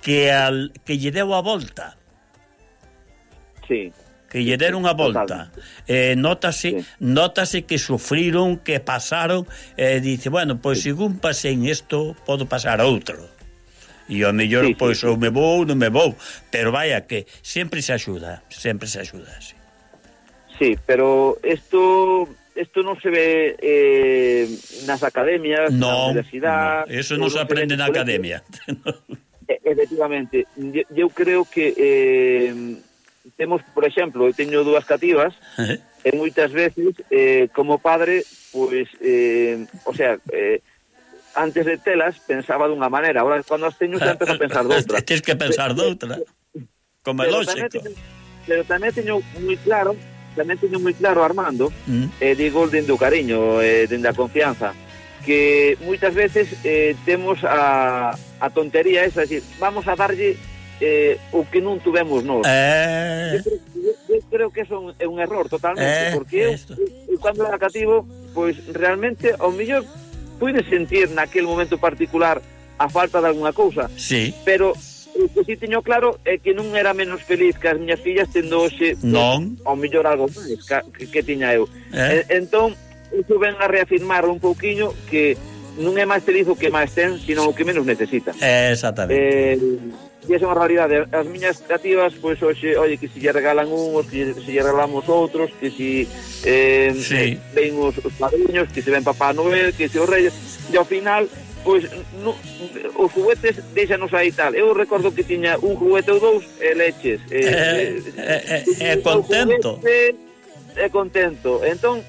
que al que lle deu a volta, Sí. que lle deron a volta. Eh, notase, Sí. notase que sufriron, que pasaron, e eh, dice, bueno, pois pues, según pasei en isto, podo pasar a outro. E ao mellor, Sí, sí, pois, sí. ou me vou, non me vou, pero vaya que sempre se axuda, sempre se axuda, sí. Sí, pero esto esto non se ve eh, nas academias, na No, universidade. no, eso ou non se se ve aprende nos na colegios. academia. E- Efectivamente, eu, eu creo que eh, temos, por exemplo, eu teño dúas cativas e moitas veces eh, como padre, pois, eh, o sea, eh, antes de telas pensaba dunha maneira, agora cando as teño xa empezo a pensar doutra. Tens que pensar doutra. Como é Pero tamén lógico. teño, pero tamén teño moi claro, tamén teño moi claro, Armando, Mm. e eh, digo dende o cariño, eh, dende a confianza, que moitas veces eh, temos a, a tontería esa, decir, vamos a darlle eh, o que non tuvemos nós. Eh, Eu creo, eu, eu creo que eso é un error totalmente, Eh, porque eu, esto. eu cando era cativo, pois realmente ao mellor pude sentir naquel momento particular a falta de alguna cousa, sí. pero eu o que si teño claro é que non era menos feliz que as miñas fillas tendo hoxe non ao mellor algo máis que, que tiña eu. Eh? E, entón, iso ven a reafirmar un pouquiño que non é máis feliz o que máis ten, sino o que menos necesita. Exactamente. Eh, e esa é unha realidade. As miñas cativas, pois hoxe, oye, que se lle regalan uns, que se lle regalamos outros, que se eh, sí. ven os, os padriños, que se ven Papá Noel, que se os reyes, e ao final, pois, no, os juguetes deixanos aí tal. Eu recordo que tiña un juguete ou dous e leches. É eh, eh, eh, eh, contento. É contento. Entón,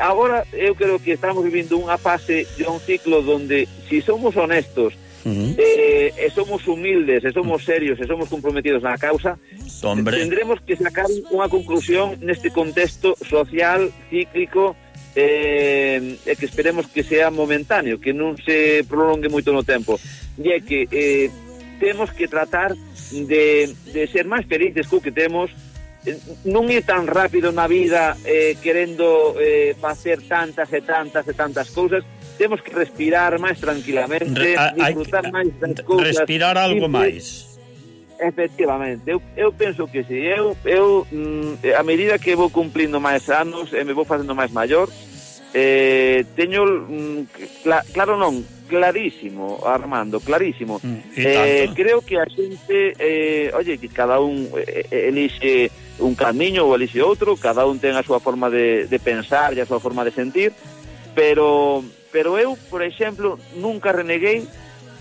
agora eu creo que estamos vivindo unha fase de un ciclo donde, si somos honestos, uh-huh. eh, e somos humildes, e somos serios, e somos comprometidos na causa, Hombre. tendremos que sacar unha conclusión neste contexto social, cíclico, eh, e que esperemos que sea momentáneo, que non se prolongue moito no tempo. E é que eh, temos que tratar de, de ser máis felices co que temos, non ir tan rápido na vida eh, querendo eh, facer tantas e tantas e tantas cousas. Temos que respirar máis tranquilamente, Re, disfrutar hay, máis das cousas, respirar algo máis. Efectivamente, eu, eu penso que si eu, eu mm, a medida que vou cumplindo máis anos e me vou facendo máis maior, eh, teño mm, cl- claro non clarísimo, Armando, clarísimo. Mm, eh, creo que a xente, eh, oye, que cada un eh, elixe un camiño ou elixe outro, cada un ten a súa forma de, de pensar e a súa forma de sentir, pero pero eu, por exemplo, nunca reneguei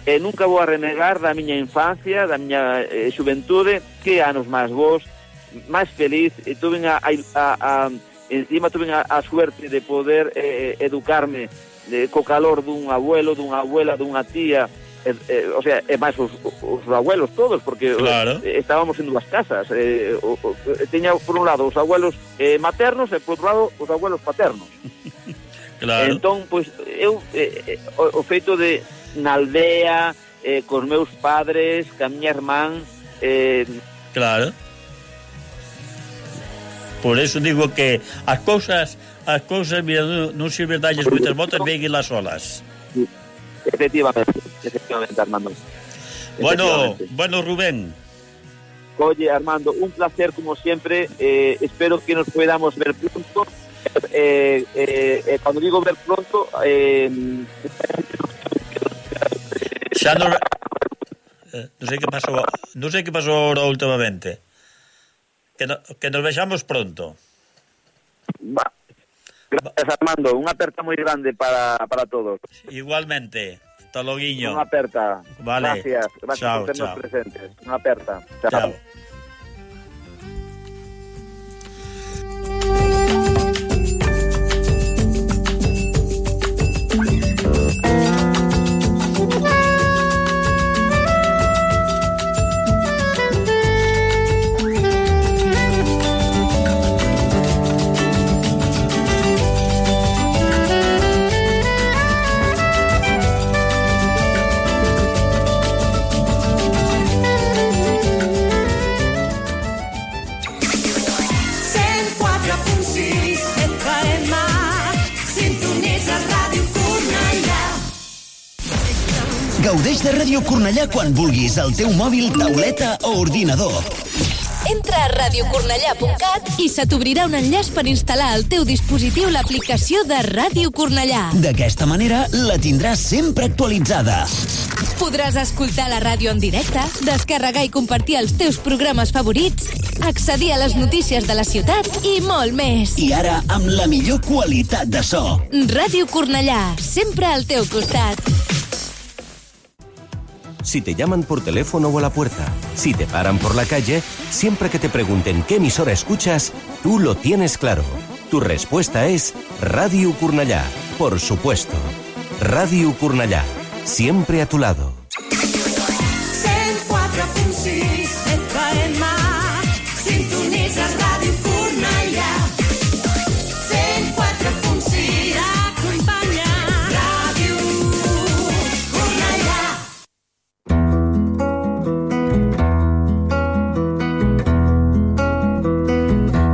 e nunca vou a renegar da miña infancia, da miña eh, xuventude, que anos máis vos, máis feliz, e tuve a, a, a encima tuve a, a suerte de poder eh, educarme de, co calor dun abuelo, dunha abuela, dunha tía, eh, eh, o sea, e máis os, os abuelos todos, porque claro. eh, estábamos en dúas casas, eh, o, o, teña por un lado os abuelos eh, maternos e por outro lado os abuelos paternos. Claro. Entón, pois, eu eh, o, o feito de na aldea, eh, cos meus padres, ca miña irmán, eh, claro. Por eso digo que as cousas as cousas, mira, non sirve dalles moitas voltas, véguelas solas. Efectivamente, efectivamente, Armando. Bueno, bueno, Rubén. Oye, Armando, un placer como siempre. Eh, espero que nos podamos ver pronto. Eh, eh, eh, cuando digo ver pronto, eh, xa non eh, non sei que pasou, non sei que pasou ahora últimamente. Que, no, que nos vexamos pronto. Va. Gracias, Armando. Unha aperta moi grande para, para todos. Igualmente. Hasta loguiño. Unha aperta. Vale. Gracias. Gracias chao, por ternos chao. presentes. Unha aperta. Chao. Chao. Gaudeix de Ràdio Cornellà quan vulguis, al teu mòbil, tauleta o ordinador. Entra a radio cornellà punt cat i se t'obrirà un enllaç per instal·lar al teu dispositiu l'aplicació de Ràdio Cornellà. D'aquesta manera la tindràs sempre actualitzada. Podràs escoltar la ràdio en directe, descarregar i compartir els teus programes favorits, accedir a les notícies de la ciutat i molt més. I ara amb la millor qualitat de so. Ràdio Cornellà, sempre al teu costat. Si te llaman por teléfono o a la puerta, si te paran por la calle, siempre que te pregunten qué emisora escuchas, tú lo tienes claro. Tu respuesta es Ràdio Cornellà, por supuesto. Ràdio Cornellà, siempre a tu lado. cent quatre punt sis F M, sintonitza Ràdio Cornellà. cent quatre punt sis, acompanya Ràdio Cornellà.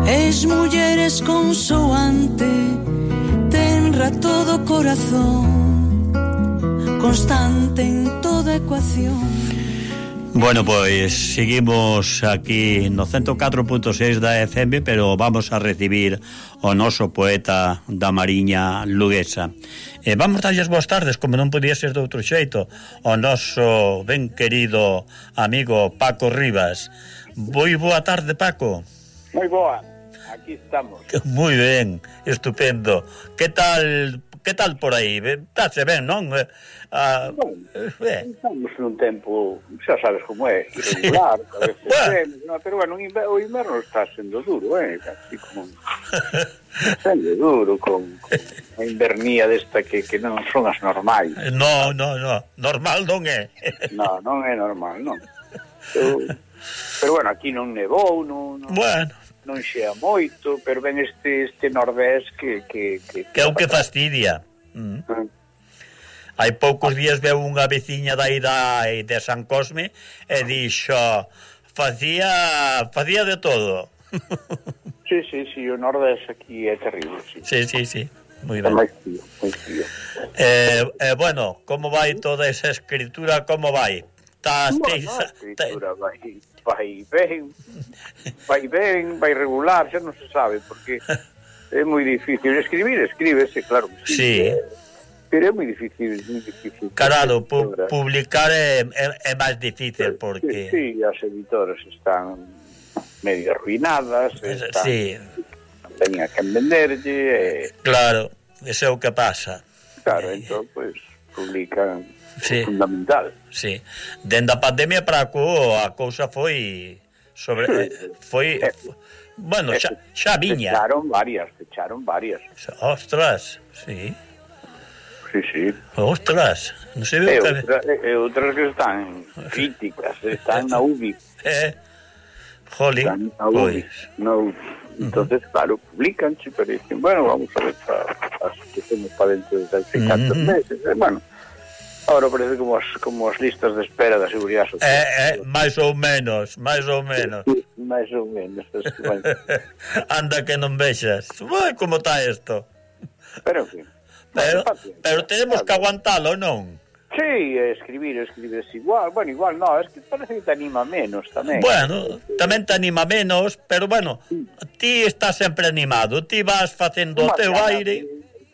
Es muller esconsoante, tenra todo corazón, constante en toda ecuación. Bueno, pois seguimos aquí no ciento catro punto seis da F M, pero vamos a recibir o noso poeta da Mariña luguesa. E vamos darlles boas tardes, como non podía ser de outro xeito, o noso ben querido amigo Paco Rivas. Moi boa tarde, Paco. Moi boa, aquí estamos. Moi ben, estupendo. Que tal, que tal por aí? Estase ben, non? Ah, bueno, eh. estamos nun tempo, xa sabes como é, irregular, sí. A veces bueno. Ben, no, pero bueno, o inverno está sendo duro, eh, así como sendo duro, con, con a invernía desta que, que non son as normais. No, no, no, normal non é. No, non é normal, non. Pero, pero bueno, aquí non nevou, non, non, bueno. non xea moito, pero ven este, este nordés que... Que, que, que é o que fastidia. Mm. Mm. Hai poucos días veu unha veciña dai da, de San Cosme e dixo facía facía de todo. Sí, sí, sí, o nordés aquí é terrible, sí. Sí, sí, sí, moi ben. Moi frío, moi frío. Eh, eh, bueno, como vai toda esa escritura, como vai? Estás, bueno, a escritura vai, vai ben, vai ben, vai regular, xa non se sabe, porque é moi difícil. Escribir, escríbese, claro que sí. Sí. Pero é moi difícil, moi difícil. Claro, pu publicar é, é, é máis difícil porque... Sí, sí, as editoras están medio arruinadas, están... Sí. Tenía que venderlle... Eh... Claro, eso é o que pasa. Claro, eh... entón, pues, publican sí. Fundamental. Sí. Dende a pandemia para acá a cousa foi... sobre sí. Foi... Eh, bueno, xa, xa viña. Fecharon varias, fecharon varias. Ostras, sí. Sí, sí. Ostras, non sei e, outra, e outras que están críticas, están na U B I. Eh, jolín, están na U B I. Pues. No, entonces, uh -huh. claro, publican, pero dicen, bueno, vamos a ver as que temos para dentro de tantos uh -huh. meses. Eh, bueno, ahora parece como as, como as listas de espera da Seguridade Social. Eh, eh, máis ou menos, máis ou menos. máis ou menos. Bueno. Anda que non vexas. Uy, como está isto? Pero, en fin. Pero, pero tenemos que aguantalo, non? Sí, escribir, escribir es igual. Bueno, igual no, es que parece que te anima menos tamén. Bueno, tamén te anima menos, pero bueno, sí. Ti estás sempre animado, ti vas facendo o teu aire.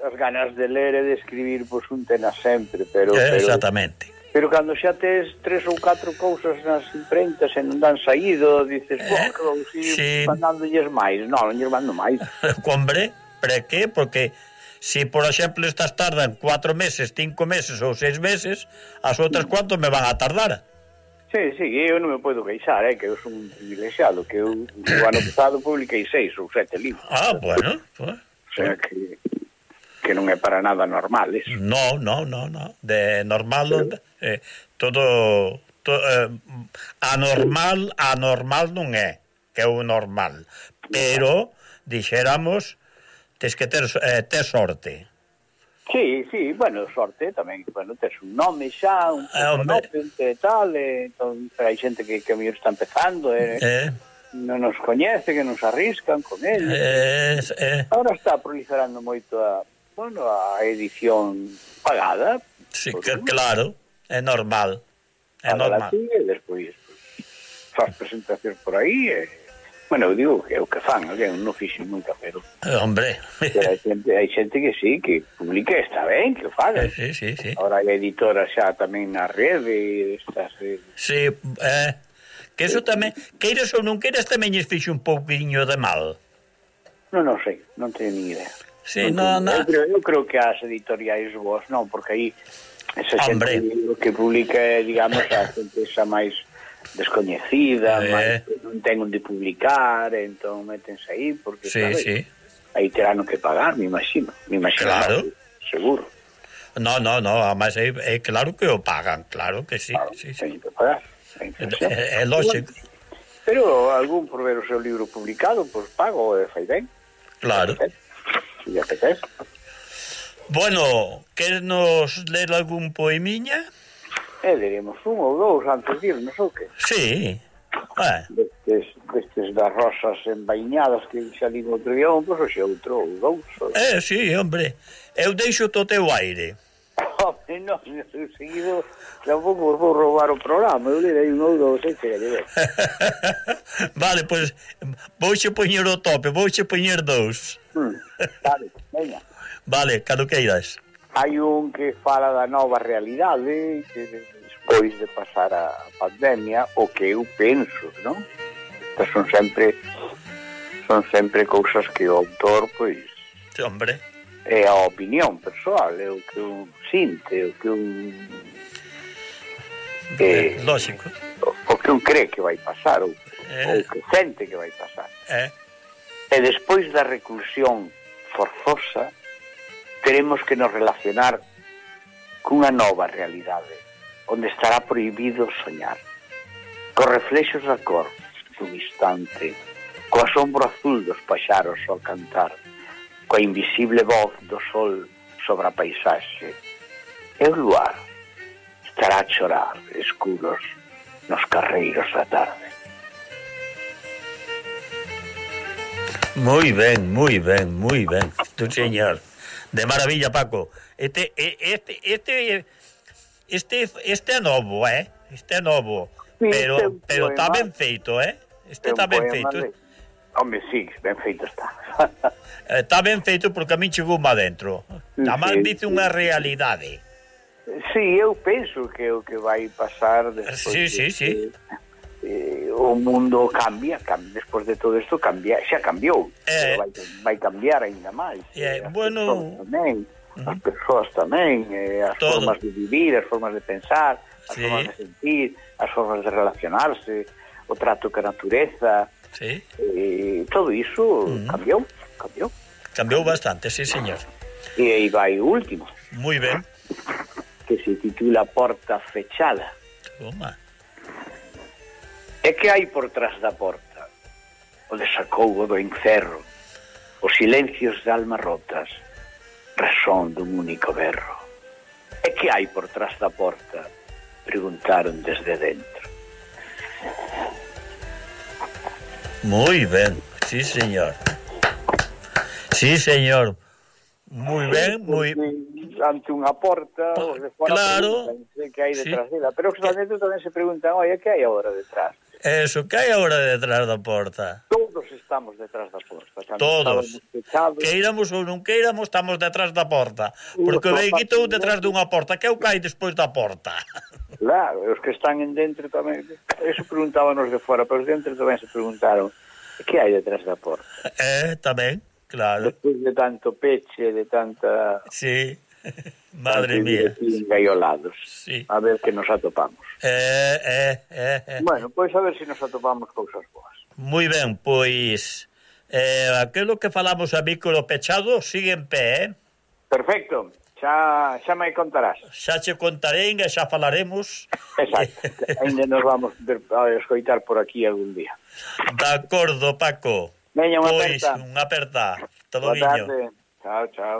As ganas de ler e de escribir, pois pues, un tenas sempre, pero... Eh, exactamente. Pero, pero cando xa tes tres ou catro cousas nas imprentas e non dan saído, dices, eh, bueno, que vamos ir sí. Mandándolles máis. Non, non lles mando máis. Hombre, para que? Porque... Si, por exemplo, estas tardan cuatro meses, cinco meses ou seis meses, as outras cuanto me van a tardar? Sí, sí, eu non me podo queixar, eh, que eu son un privilexiado, que eu o ano pasado publiquei seis ou sete libros. Ah, bueno, pues, o sea, que, que non é para nada normal, eso. No, no, no, no, de normal, Pero... eh, todo, to, eh, anormal, anormal non é, que é o normal, pero, dixéramos... Tens que ter, eh, ter sorte. Sí, sí, bueno, sorte tamén. Bueno, tes un nome xa, un nome e tal, e, entón, hai xente que, que a mellor está empezando, e, eh. non nos coñece, que nos arriscan con ele. Eh, eh. Ahora está proliferando moito a, bueno, a edición pagada. Sí, que, claro, é normal. É normal. E despois pues, faz presentacións por aí, e bueno, eu digo que é o que fan, alguén non fixo nunca, pero... Eh, hombre... Pero hai xente, hai xente que sí, que publica, está ben, que o faga. Sí, sí, sí. Ahora hai editoras xa tamén na rede, estas... Eh... Sí, eh, que eso tamén, queiras ou non queiras, tamén lles fixe un pouquinho de mal. Non, non sei, non teño ni idea. Sí, non, non... Eu, creo, eu creo que as editoriais vos non, porque aí esa xente que publica, digamos, a xente xa máis... descoñecida, eh. máis non ten onde publicar, entón métense aí porque sí, claro, sí. aí terán que pagar, me imagino, me imagino, claro. Seguro. No, no, no, además é, é claro que o pagan, claro que sí, claro, sí, sí. sí. Que pagar. É, é lógico. Pero algún por ver o seu libro publicado, pois pues, pago e fai ben. Claro. Si apetece. Bueno, queres nos ler algún poemiña? Eh, diremos un ou dous antes de irnos, ou que? Sí. Eh. Destes, destes das rosas envainadas que xa digo outro día, pois pues, xe outro ou dous. Ou... Eh, sí, hombre. Eu deixo o teu aire. non, seguido tampouco vos vou roubar o programa, eu direi un ou dous, e chega de ver. Vale, pois vouche poñer o tope, vouche poñer dous. Hmm, vale, veña. Vale, cando queiras. Hai un que fala da nova realidade, que despois de pasar a pandemia, o que eu penso, non? Estas son sempre son sempre cousas que o autor, pois... Sí, hombre... É a opinión persoal, é o que un sinte, é o que un... É, lógico. O, o que un cree que vai pasar, ou, eh. ou que sente que vai pasar. Eh. E despois da reclusión forzosa, teremos que nos relacionar cunha nova realidade, onde estará prohibido soñar, cos reflexos da cor dun instante, co asombro azul dos paxaros ao cantar, coa invisible voz do sol sobre a paisaxe, e o luar estará a chorar escuros nos carreiros da tarde. Moi ben, moi ben, moi ben, tu señor. De maravilla, Paco. Este, este, este, este, este é novo, eh? Este é novo. Sí, pero, este pero está poema, ben feito, eh? Este está ben feito. De... Home, sí, ben feito está. Está ben feito porque a min chegou má dentro. Tamén Sí, dice unha realidade. Sí, eu penso que o que vai pasar despois Sí, sí, de, sí. Eh, o mundo cambia, cambia, despois de todo isto cambia, xa cambiou, Eh, vai, vai cambiar ainda máis. Eh, as bueno, persoas tamén, uh-huh. as persoas tamén, eh, as todo. formas de vivir, as formas de pensar, as Sí. formas de sentir, as formas de relacionarse, o trato ca natureza, Sí. eh, todo iso uh-huh. cambiou, cambiou. Cambiou bastante, sí, señor. E aí vai o último, Moi ben. que se titula Porta Fechada. Toma. E que hai por trás da porta? O desacougo do encerro, os silencios de almas rotas, razón dun único berro. E que hai por trás da porta? Preguntaron desde dentro. Moi ben, sí, señor. Sí, señor. Moi ben, moi... Ante unha porta, os de fora claro. preguntan que hai detrás Sí. dela, pero os de dentro tamén se preguntan, oi, que hai agora detrás? Eso, que hai agora detrás da porta? Todos estamos detrás da porta. Cando Todos. estábamos fechados, Queiramos ou non queiramos, estamos detrás da porta. Porque o Unha veiquito parte detrás dunha porta. Que é o que hai despois da porta? Claro, os que están en dentro tamén, eso preguntábanos de fora, pero os dentro tamén se preguntaron que hai detrás da porta. Eh, tamén, claro. Despois de tanto peche, de tanta... Sí, madre mía. Engaiolados. Sí. A ver que nos atopamos. Eh, eh, eh, eh. Bueno, pois a ver se nos atopamos cousas boas. Moi ben, pois... Eh, aquilo que falamos a micro pechado sigue en pé, eh? Perfecto. Xa, xa me contarás. Xa che contarei e xa falaremos. Exacto. Ainda nos vamos ver, a escoitar por aquí algún día. De acordo, Paco. Veña, unha Pois, aperta. unha aperta. Todo Boa viño. tarde. Chao, chao.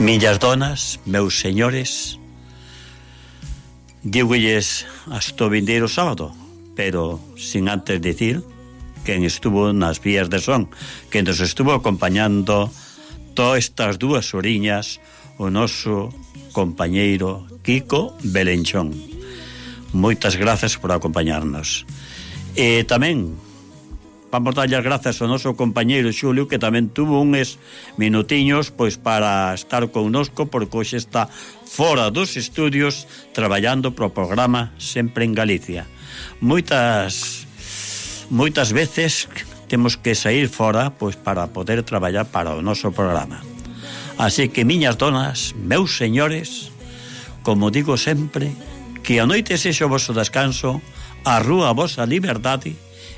Millas donas, meus señores, dígolles hasta o vindeiro sábado, pero sin antes decir quen estuvo nas vías de son, que nos estuvo acompañando todas estas dúas horiñas, o noso compañeiro Kiko Belenchón. Moitas grazas por acompañarnos. E tamén vamos darlle as grazas ao noso compañeiro Xulio, que tamén tuvo uns minutiños pois para estar connosco, porque hoxe está fora dos estudios traballando pro programa Sempre en Galicia. Moitas moitas veces temos que sair fora pois para poder traballar para o noso programa. Así que, miñas donas, meus señores, como digo sempre, que a noite sexa o voso descanso, a rúa a vosa liberdade,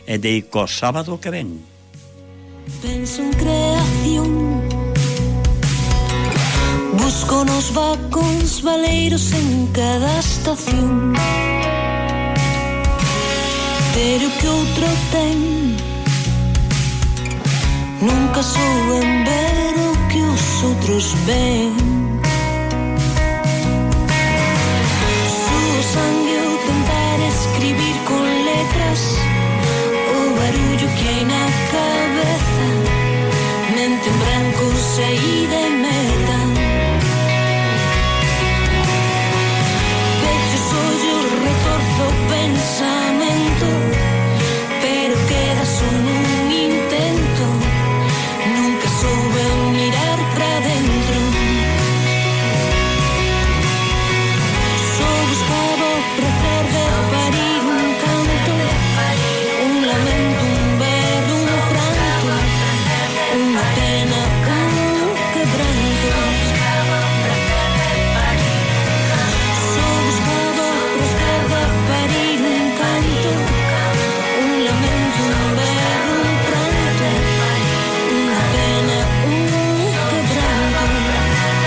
e de co sábado que ven. Penso en creación, busco nos vacóns valeiros en cada estación, pero que outro ten, nunca souben ver o que os outros ven. letras, o barullo que hai na cabeza, mente en branco, saída e meta. Pecho os ollos, retorzo o pensamento, pero queda só nun intento, nunca soube mirar pra dentro. Só buscaba o prazer de parir un canto, un lamento, un berro, un pranto, unha pena, un quebranto. Só buscaba o prazer de parir un canto, un lamento, un berro, un pranto, unha pena, un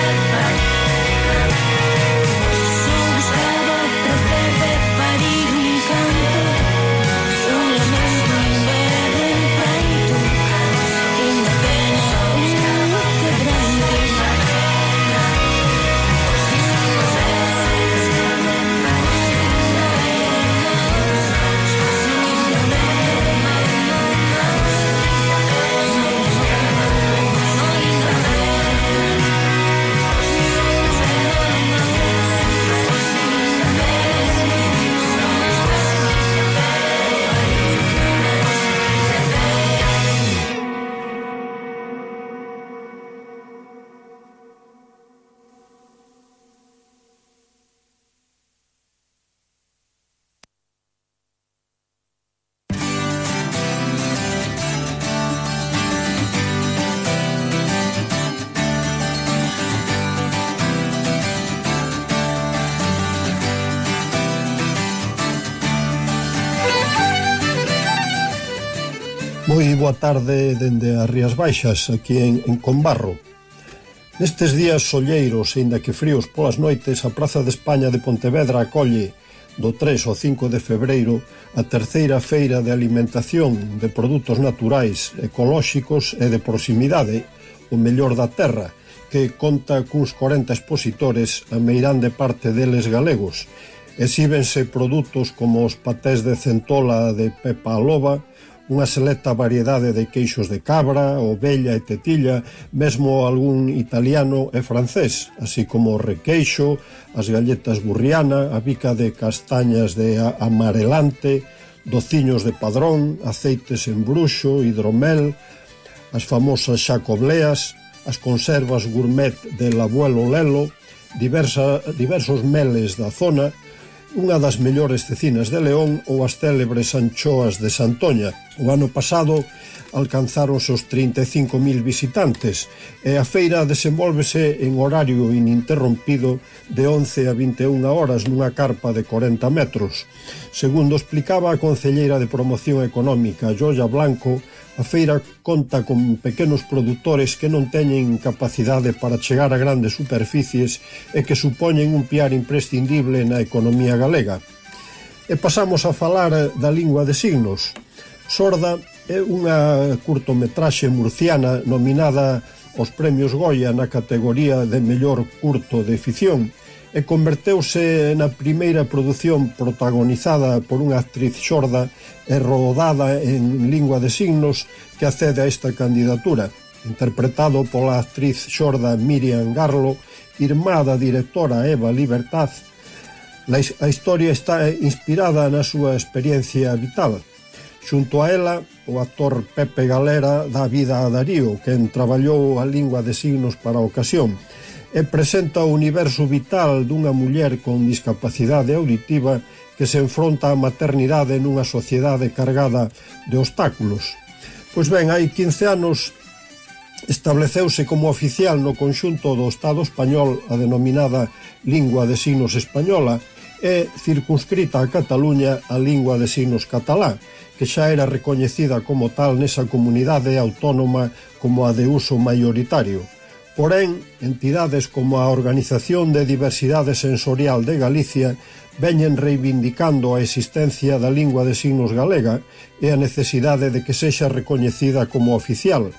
quebranto. Só buscaba o prazer de parir un canto, un lamento, un berro, un pranto, unha pena, un quebranto. Moi boa tarde dende as Rías Baixas, aquí en, en Combarro. Nestes días solleiros, e inda que fríos polas noites, a Praza de España de Pontevedra acolle do tres ao cinco de febreiro a terceira feira de alimentación de produtos naturais, ecolóxicos e de proximidade, o mellor da terra, que conta cuns corenta expositores, a meirande parte deles galegos. Exíbense produtos como os patés de centola de Pepa a Loba, unha selecta variedade de queixos de cabra, ovella e tetilla, mesmo algún italiano e francés, así como o requeixo, as galletas burriana, a bica de castañas de amarelante, dociños de padrón, aceites en bruxo, hidromel, as famosas xacobleas, as conservas gourmet del abuelo Lelo, diversa, diversos meles da zona, unha das mellores cecinas de León ou as célebres anchoas de Santoña. O ano pasado alcanzaron os trinta e cinco mil visitantes e a feira desenvólvese en horario ininterrompido de once a vinte e unha horas nunha carpa de corenta metros. Segundo explicaba a concelleira de Promoción Económica, Joia Blanco, a feira conta con pequenos produtores que non teñen capacidade para chegar a grandes superficies e que supoñen un piar imprescindible na economía galega. E pasamos a falar da lingua de signos. Sorda é unha curtometraxe murciana nominada aos premios Goya na categoría de mellor curto de ficción e converteuse na primeira produción protagonizada por unha actriz xorda e rodada en lingua de signos que accede a esta candidatura, interpretado pola actriz xorda Miriam Garlo, irmá da directora Eva Libertad. A historia está inspirada na súa experiencia vital. Xunto a ela, o actor Pepe Galera dá vida a Darío, quen traballou a lingua de signos para a ocasión, e presenta o universo vital dunha muller con discapacidade auditiva que se enfronta á maternidade nunha sociedade cargada de obstáculos. Pois ben, hai quince anos estableceuse como oficial no conxunto do Estado español a denominada lingua de signos española e circunscrita a Cataluña a lingua de signos catalá, que xa era recoñecida como tal nesa comunidade autónoma como a de uso maioritario. Porén, entidades como a Organización de Diversidade Sensorial de Galicia veñen reivindicando a existencia da lingua de signos galega e a necesidade de que sexa recoñecida como oficial,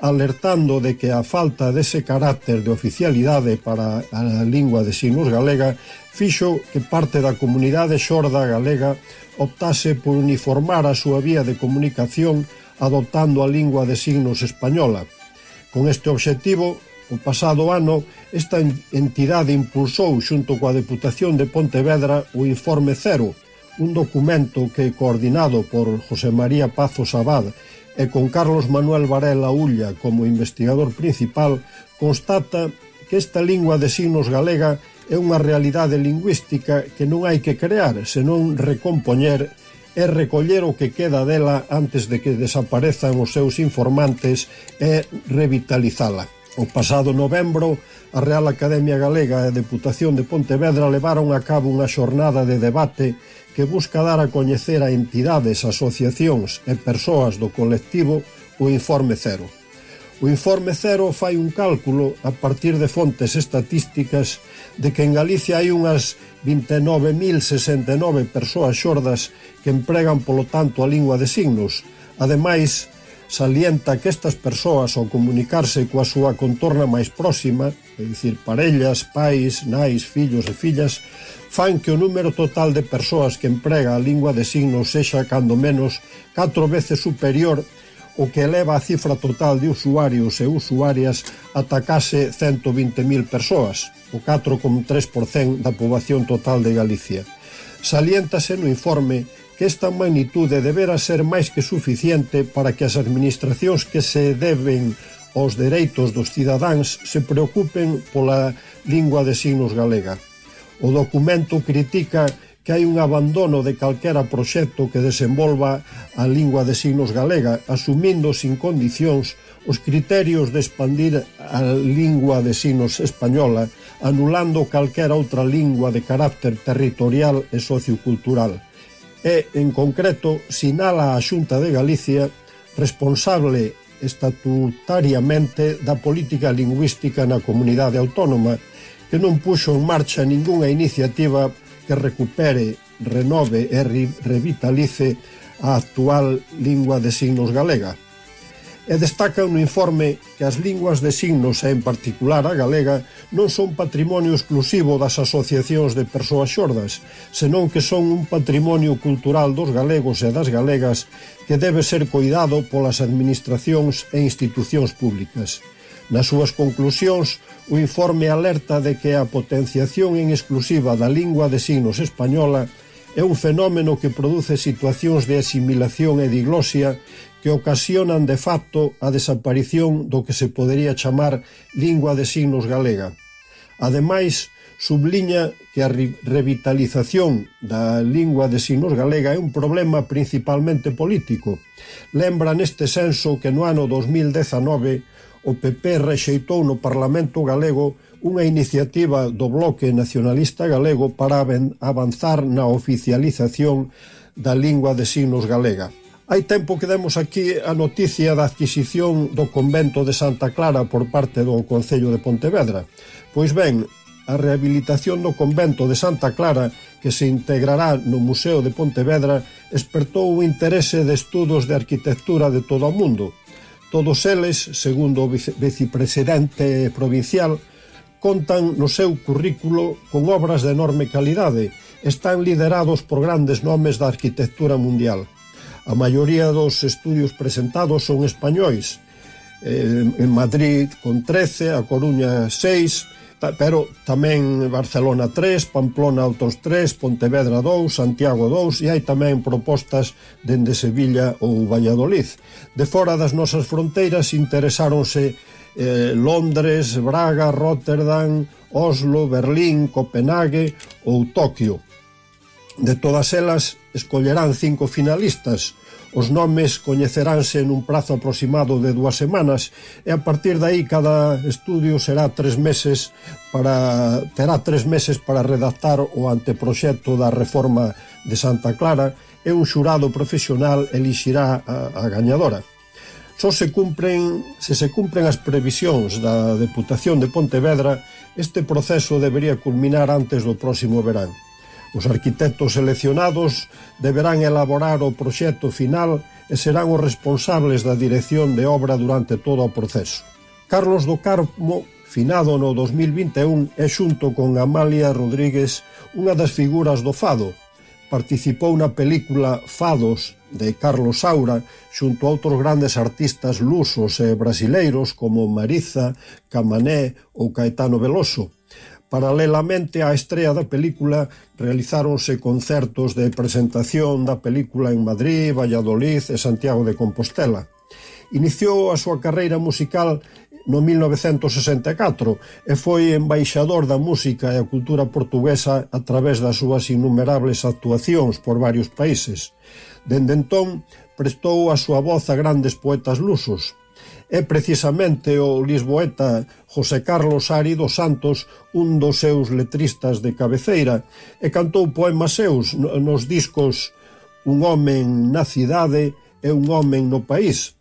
alertando de que a falta dese carácter de oficialidade para a lingua de signos galega fixo que parte da comunidade xorda galega optase por uniformar a súa vía de comunicación adoptando a lingua de signos española. Con este obxectivo, o pasado ano, esta entidade impulsou xunto coa Deputación de Pontevedra o Informe Cero, un documento que, coordinado por José María Pazos Abad e con Carlos Manuel Varela Ulla como investigador principal, constata que esta lingua de signos galega é unha realidade lingüística que non hai que crear, senón recompoñer e recoller o que queda dela antes de que desaparezan os seus informantes e revitalizala. O pasado novembro, a Real Academia Galega e a Deputación de Pontevedra levaron a cabo unha xornada de debate que busca dar a coñecer a entidades, asociacións e persoas do colectivo o Informe Cero. O Informe Cero fai un cálculo a partir de fontes estatísticas de que en Galicia hai unhas vinte e nove mil sesenta e nove persoas xordas que empregan polo tanto a lingua de signos. Ademais, salienta que estas persoas, ao comunicarse coa súa contorna máis próxima, é dicir, parellas, pais, nais, fillos e fillas, fan que o número total de persoas que emprega a lingua de signos sexa cando menos catro veces superior o que eleva a cifra total de usuarios e usuarias ata case cento vinte mil persoas, o catro coma tres por cento da poboación total de Galicia. Saliéntase no informe que esta magnitude debera ser máis que suficiente para que as administracións que se deben aos dereitos dos cidadáns se preocupen pola lingua de signos galega. O documento critica que hai un abandono de calquera proxecto que desenvolva a lingua de signos galega, asumindo sin condicións os criterios de expandir a lingua de signos española, anulando calquera outra lingua de carácter territorial e sociocultural. E, en concreto, sinala a Xunta de Galicia responsable estatutariamente da política lingüística na comunidade autónoma, que non puxo en marcha ningunha iniciativa que recupere, renove e revitalice a actual lingua de signos galega. E destaca no informe que as linguas de signos, e en particular a galega, non son patrimonio exclusivo das asociacións de persoas xordas, senón que son un patrimonio cultural dos galegos e das galegas que debe ser coidado polas administracións e institucións públicas. Nas súas conclusións, o informe alerta de que a potenciación en exclusiva da lingua de signos española é un fenómeno que produce situacións de asimilación e diglosia que ocasionan de facto a desaparición do que se podería chamar lingua de signos galega. Ademais, subliña que a revitalización da lingua de signos galega é un problema principalmente político. Lembra neste senso que no ano dos mil dezanove o P P rexeitou no Parlamento galego unha iniciativa do Bloque Nacionalista Galego para avanzar na oficialización da lingua de signos galega. Hai tempo que demos aquí a noticia da adquisición do convento de Santa Clara por parte do Concello de Pontevedra. Pois ben, a rehabilitación do convento de Santa Clara, que se integrará no Museo de Pontevedra, despertou o interese de estudos de arquitectura de todo o mundo. Todos eles, segundo o vicepresidente provincial, contan no seu currículo con obras de enorme calidade. Están liderados por grandes nomes da arquitectura mundial. A maioría dos estudios presentados son españois. En Madrid con trece, A Coruña seis, pero tamén Barcelona tres, Pamplona outros tres, Pontevedra dous, Santiago dous, e hai tamén propostas dende Sevilla ou Valladolid. De fora das nosas fronteiras interesáronse eh, Londres, Braga, Rotterdam, Oslo, Berlín, Copenhague ou Toquio. De todas elas, escollerán cinco finalistas. Os nomes coñeceránse nun prazo aproximado de dúas semanas e a partir de aí cada estudio será tres meses para, terá tres meses para redactar o anteproxecto da reforma de Santa Clara e un xurado profesional elixirá a, a gañadora. Só se cumpren, se se cumpren as previsións da Deputación de Pontevedra, este proceso debería culminar antes do próximo verán. Os arquitectos seleccionados deberán elaborar o proxecto final e serán os responsables da dirección de obra durante todo o proceso. Carlos do Carmo, finado no dos mil vinte e un, é xunto con Amalia Rodríguez unha das figuras do fado. Participou na película Fados de Carlos Saura xunto a outros grandes artistas lusos e brasileiros como Mariza, Camané ou Caetano Veloso. Paralelamente á estrea da película, realizáronse concertos de presentación da película en Madrid, Valladolid e Santiago de Compostela. Iniciou a súa carreira musical no mil novecentos sesenta e catro e foi embaixador da música e a cultura portuguesa a través das súas innumerables actuacións por varios países. Dende entón, prestou a súa voz a grandes poetas lusos. É precisamente o lisboeta José Carlos Ari dos Santos un dos seus letristas de cabeceira e cantou poemas seus nos discos Un homen na cidade e Un homen no país.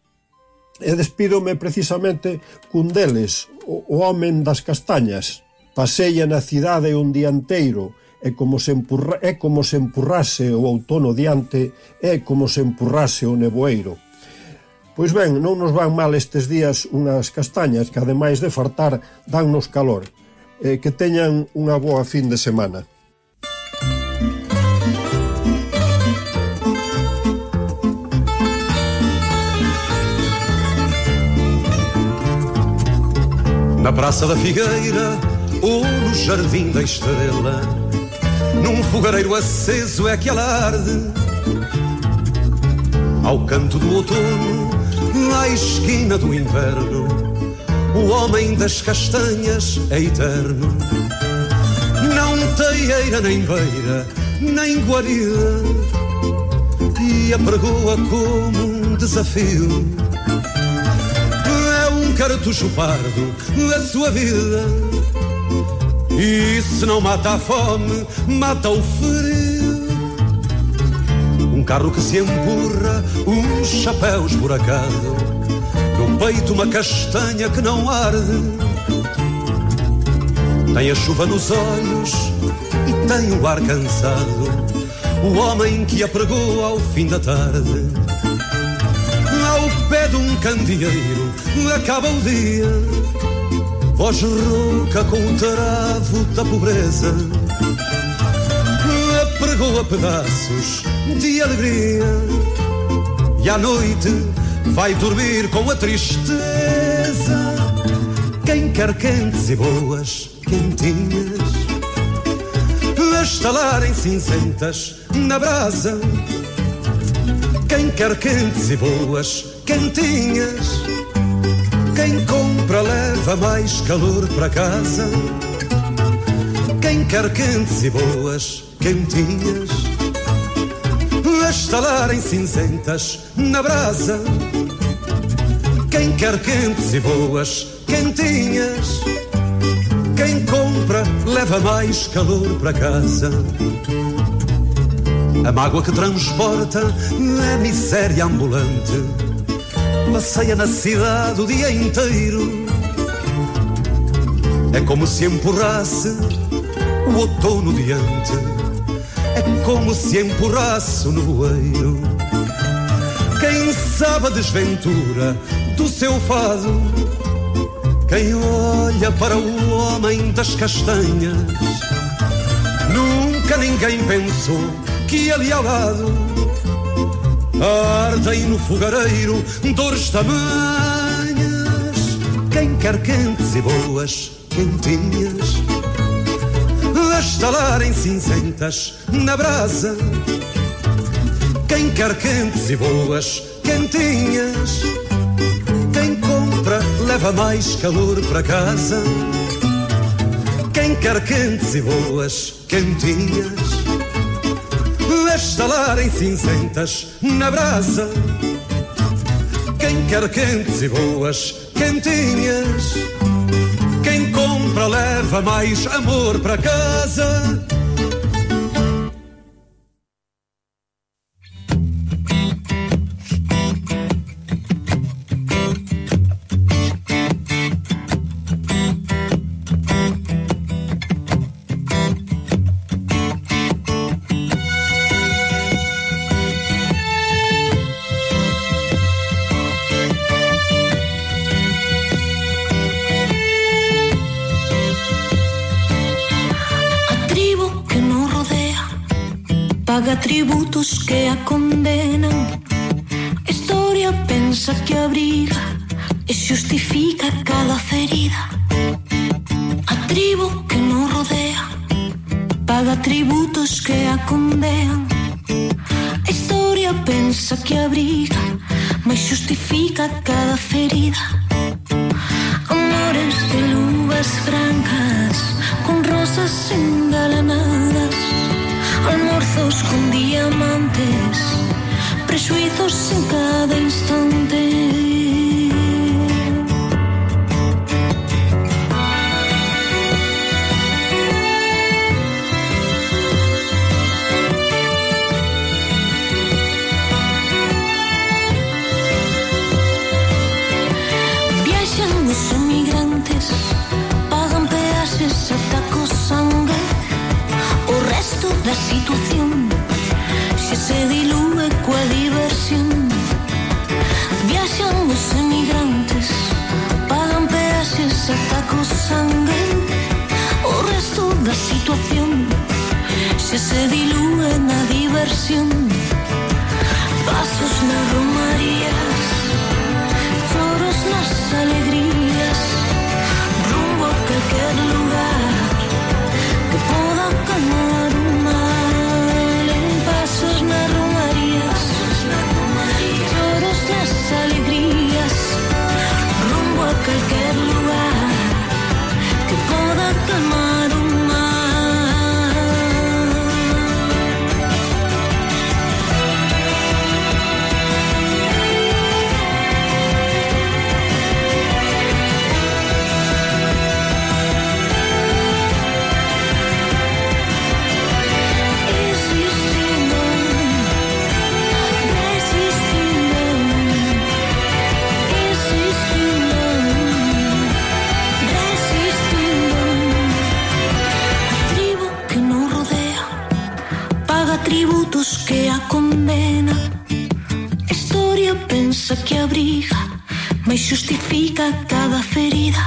E despídome precisamente cun deles, o homen das castañas. Paseia na cidade un día inteiro, é como se empurra, é como se empurrase o outono diante, é como se empurrase o nevoeiro. Pois ben, non nos van mal estes días unhas castañas que, ademais de fartar, dannos calor. Eh, que teñan unha boa fin de semana. Na Praça da Figueira ou no Jardim da Estrela, num fogareiro aceso é que ela arde. Ao canto do outono, à esquina do inverno, o homem das castanhas é eterno. Não tem eira nem beira, nem guarida, e apregoa como um desafio. É um cartucho pardo da sua vida, e se não mata a fome, mata o frio. Um carro que se empurra, uns chapéus esburacado, no peito uma castanha que não arde. Tem a chuva nos olhos e tem o ar cansado, o homem que apregou ao fim da tarde. Ao pé de um candeeiro acaba o dia, voz rouca com o travo da pobreza, apregou a pedaços de alegria, e à noite vai dormir com a tristeza. Quem quer quentes e boas quentinhas, a estalarem cinzentas na brasa. Quem quer quentes e boas quentinhas, quem compra leva mais calor para casa. Quem quer quentes e boas quentinhas, a estalarem cinzentas na brasa. Quem quer quentes e boas quentinhas, quem compra leva mais calor para casa. A mágoa que transporta é miséria ambulante, passeia na cidade o dia inteiro. É como se empurrasse o outono diante, é como se empurrasse o nevoeiro. Quem sabe a desventura do seu fado, quem olha para o homem das castanhas, nunca ninguém pensou que ali ao lado ardem no fogareiro dores tamanhas. Quem quer quentes e boas quentinhas, a estalarem cinzentas na brasa. Quem quer quentes e boas quentinhas, quem compra leva mais calor para casa. Quem quer quentes e boas quentinhas, a estalarem cinzentas na brasa. Quem quer quentes e boas quentinhas, quem compra leva mais amor para casa. paga tributos que a condenan. Historia pensa que abriga e xustifica cada ferida. A tribo que nos rodea paga tributos que a condean. Historia pensa que abriga, mas xustifica cada ferida. Amores de luvas francas con rosas engalanadas, almorzos con diamantes, presuizos en cada instante. Da situación se se dilúe coa diversión. Viaxan os emigrantes, pagan peaxes ata co sangue. O resto da situación se se dilúe na diversión. Pasos nas romarías, choros nas alegrías, rumbo a calquer lugar que poda calmar o mal. En pasos nas romarías, choros nas alegrías, rumbo a calquer lugar que poda calmar o mal. Tributos que a condena. Historia pensa que abriga, mas xustifica cada ferida.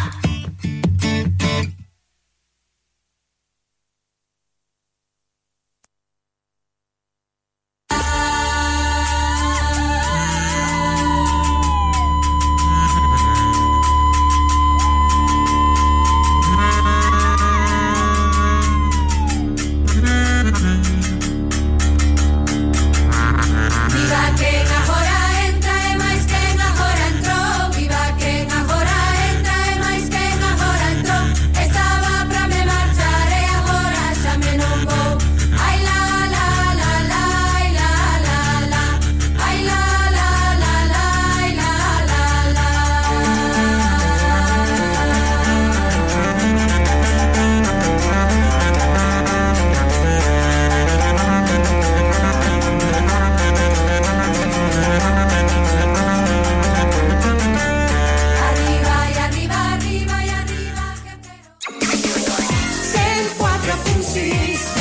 cent quatre punt sis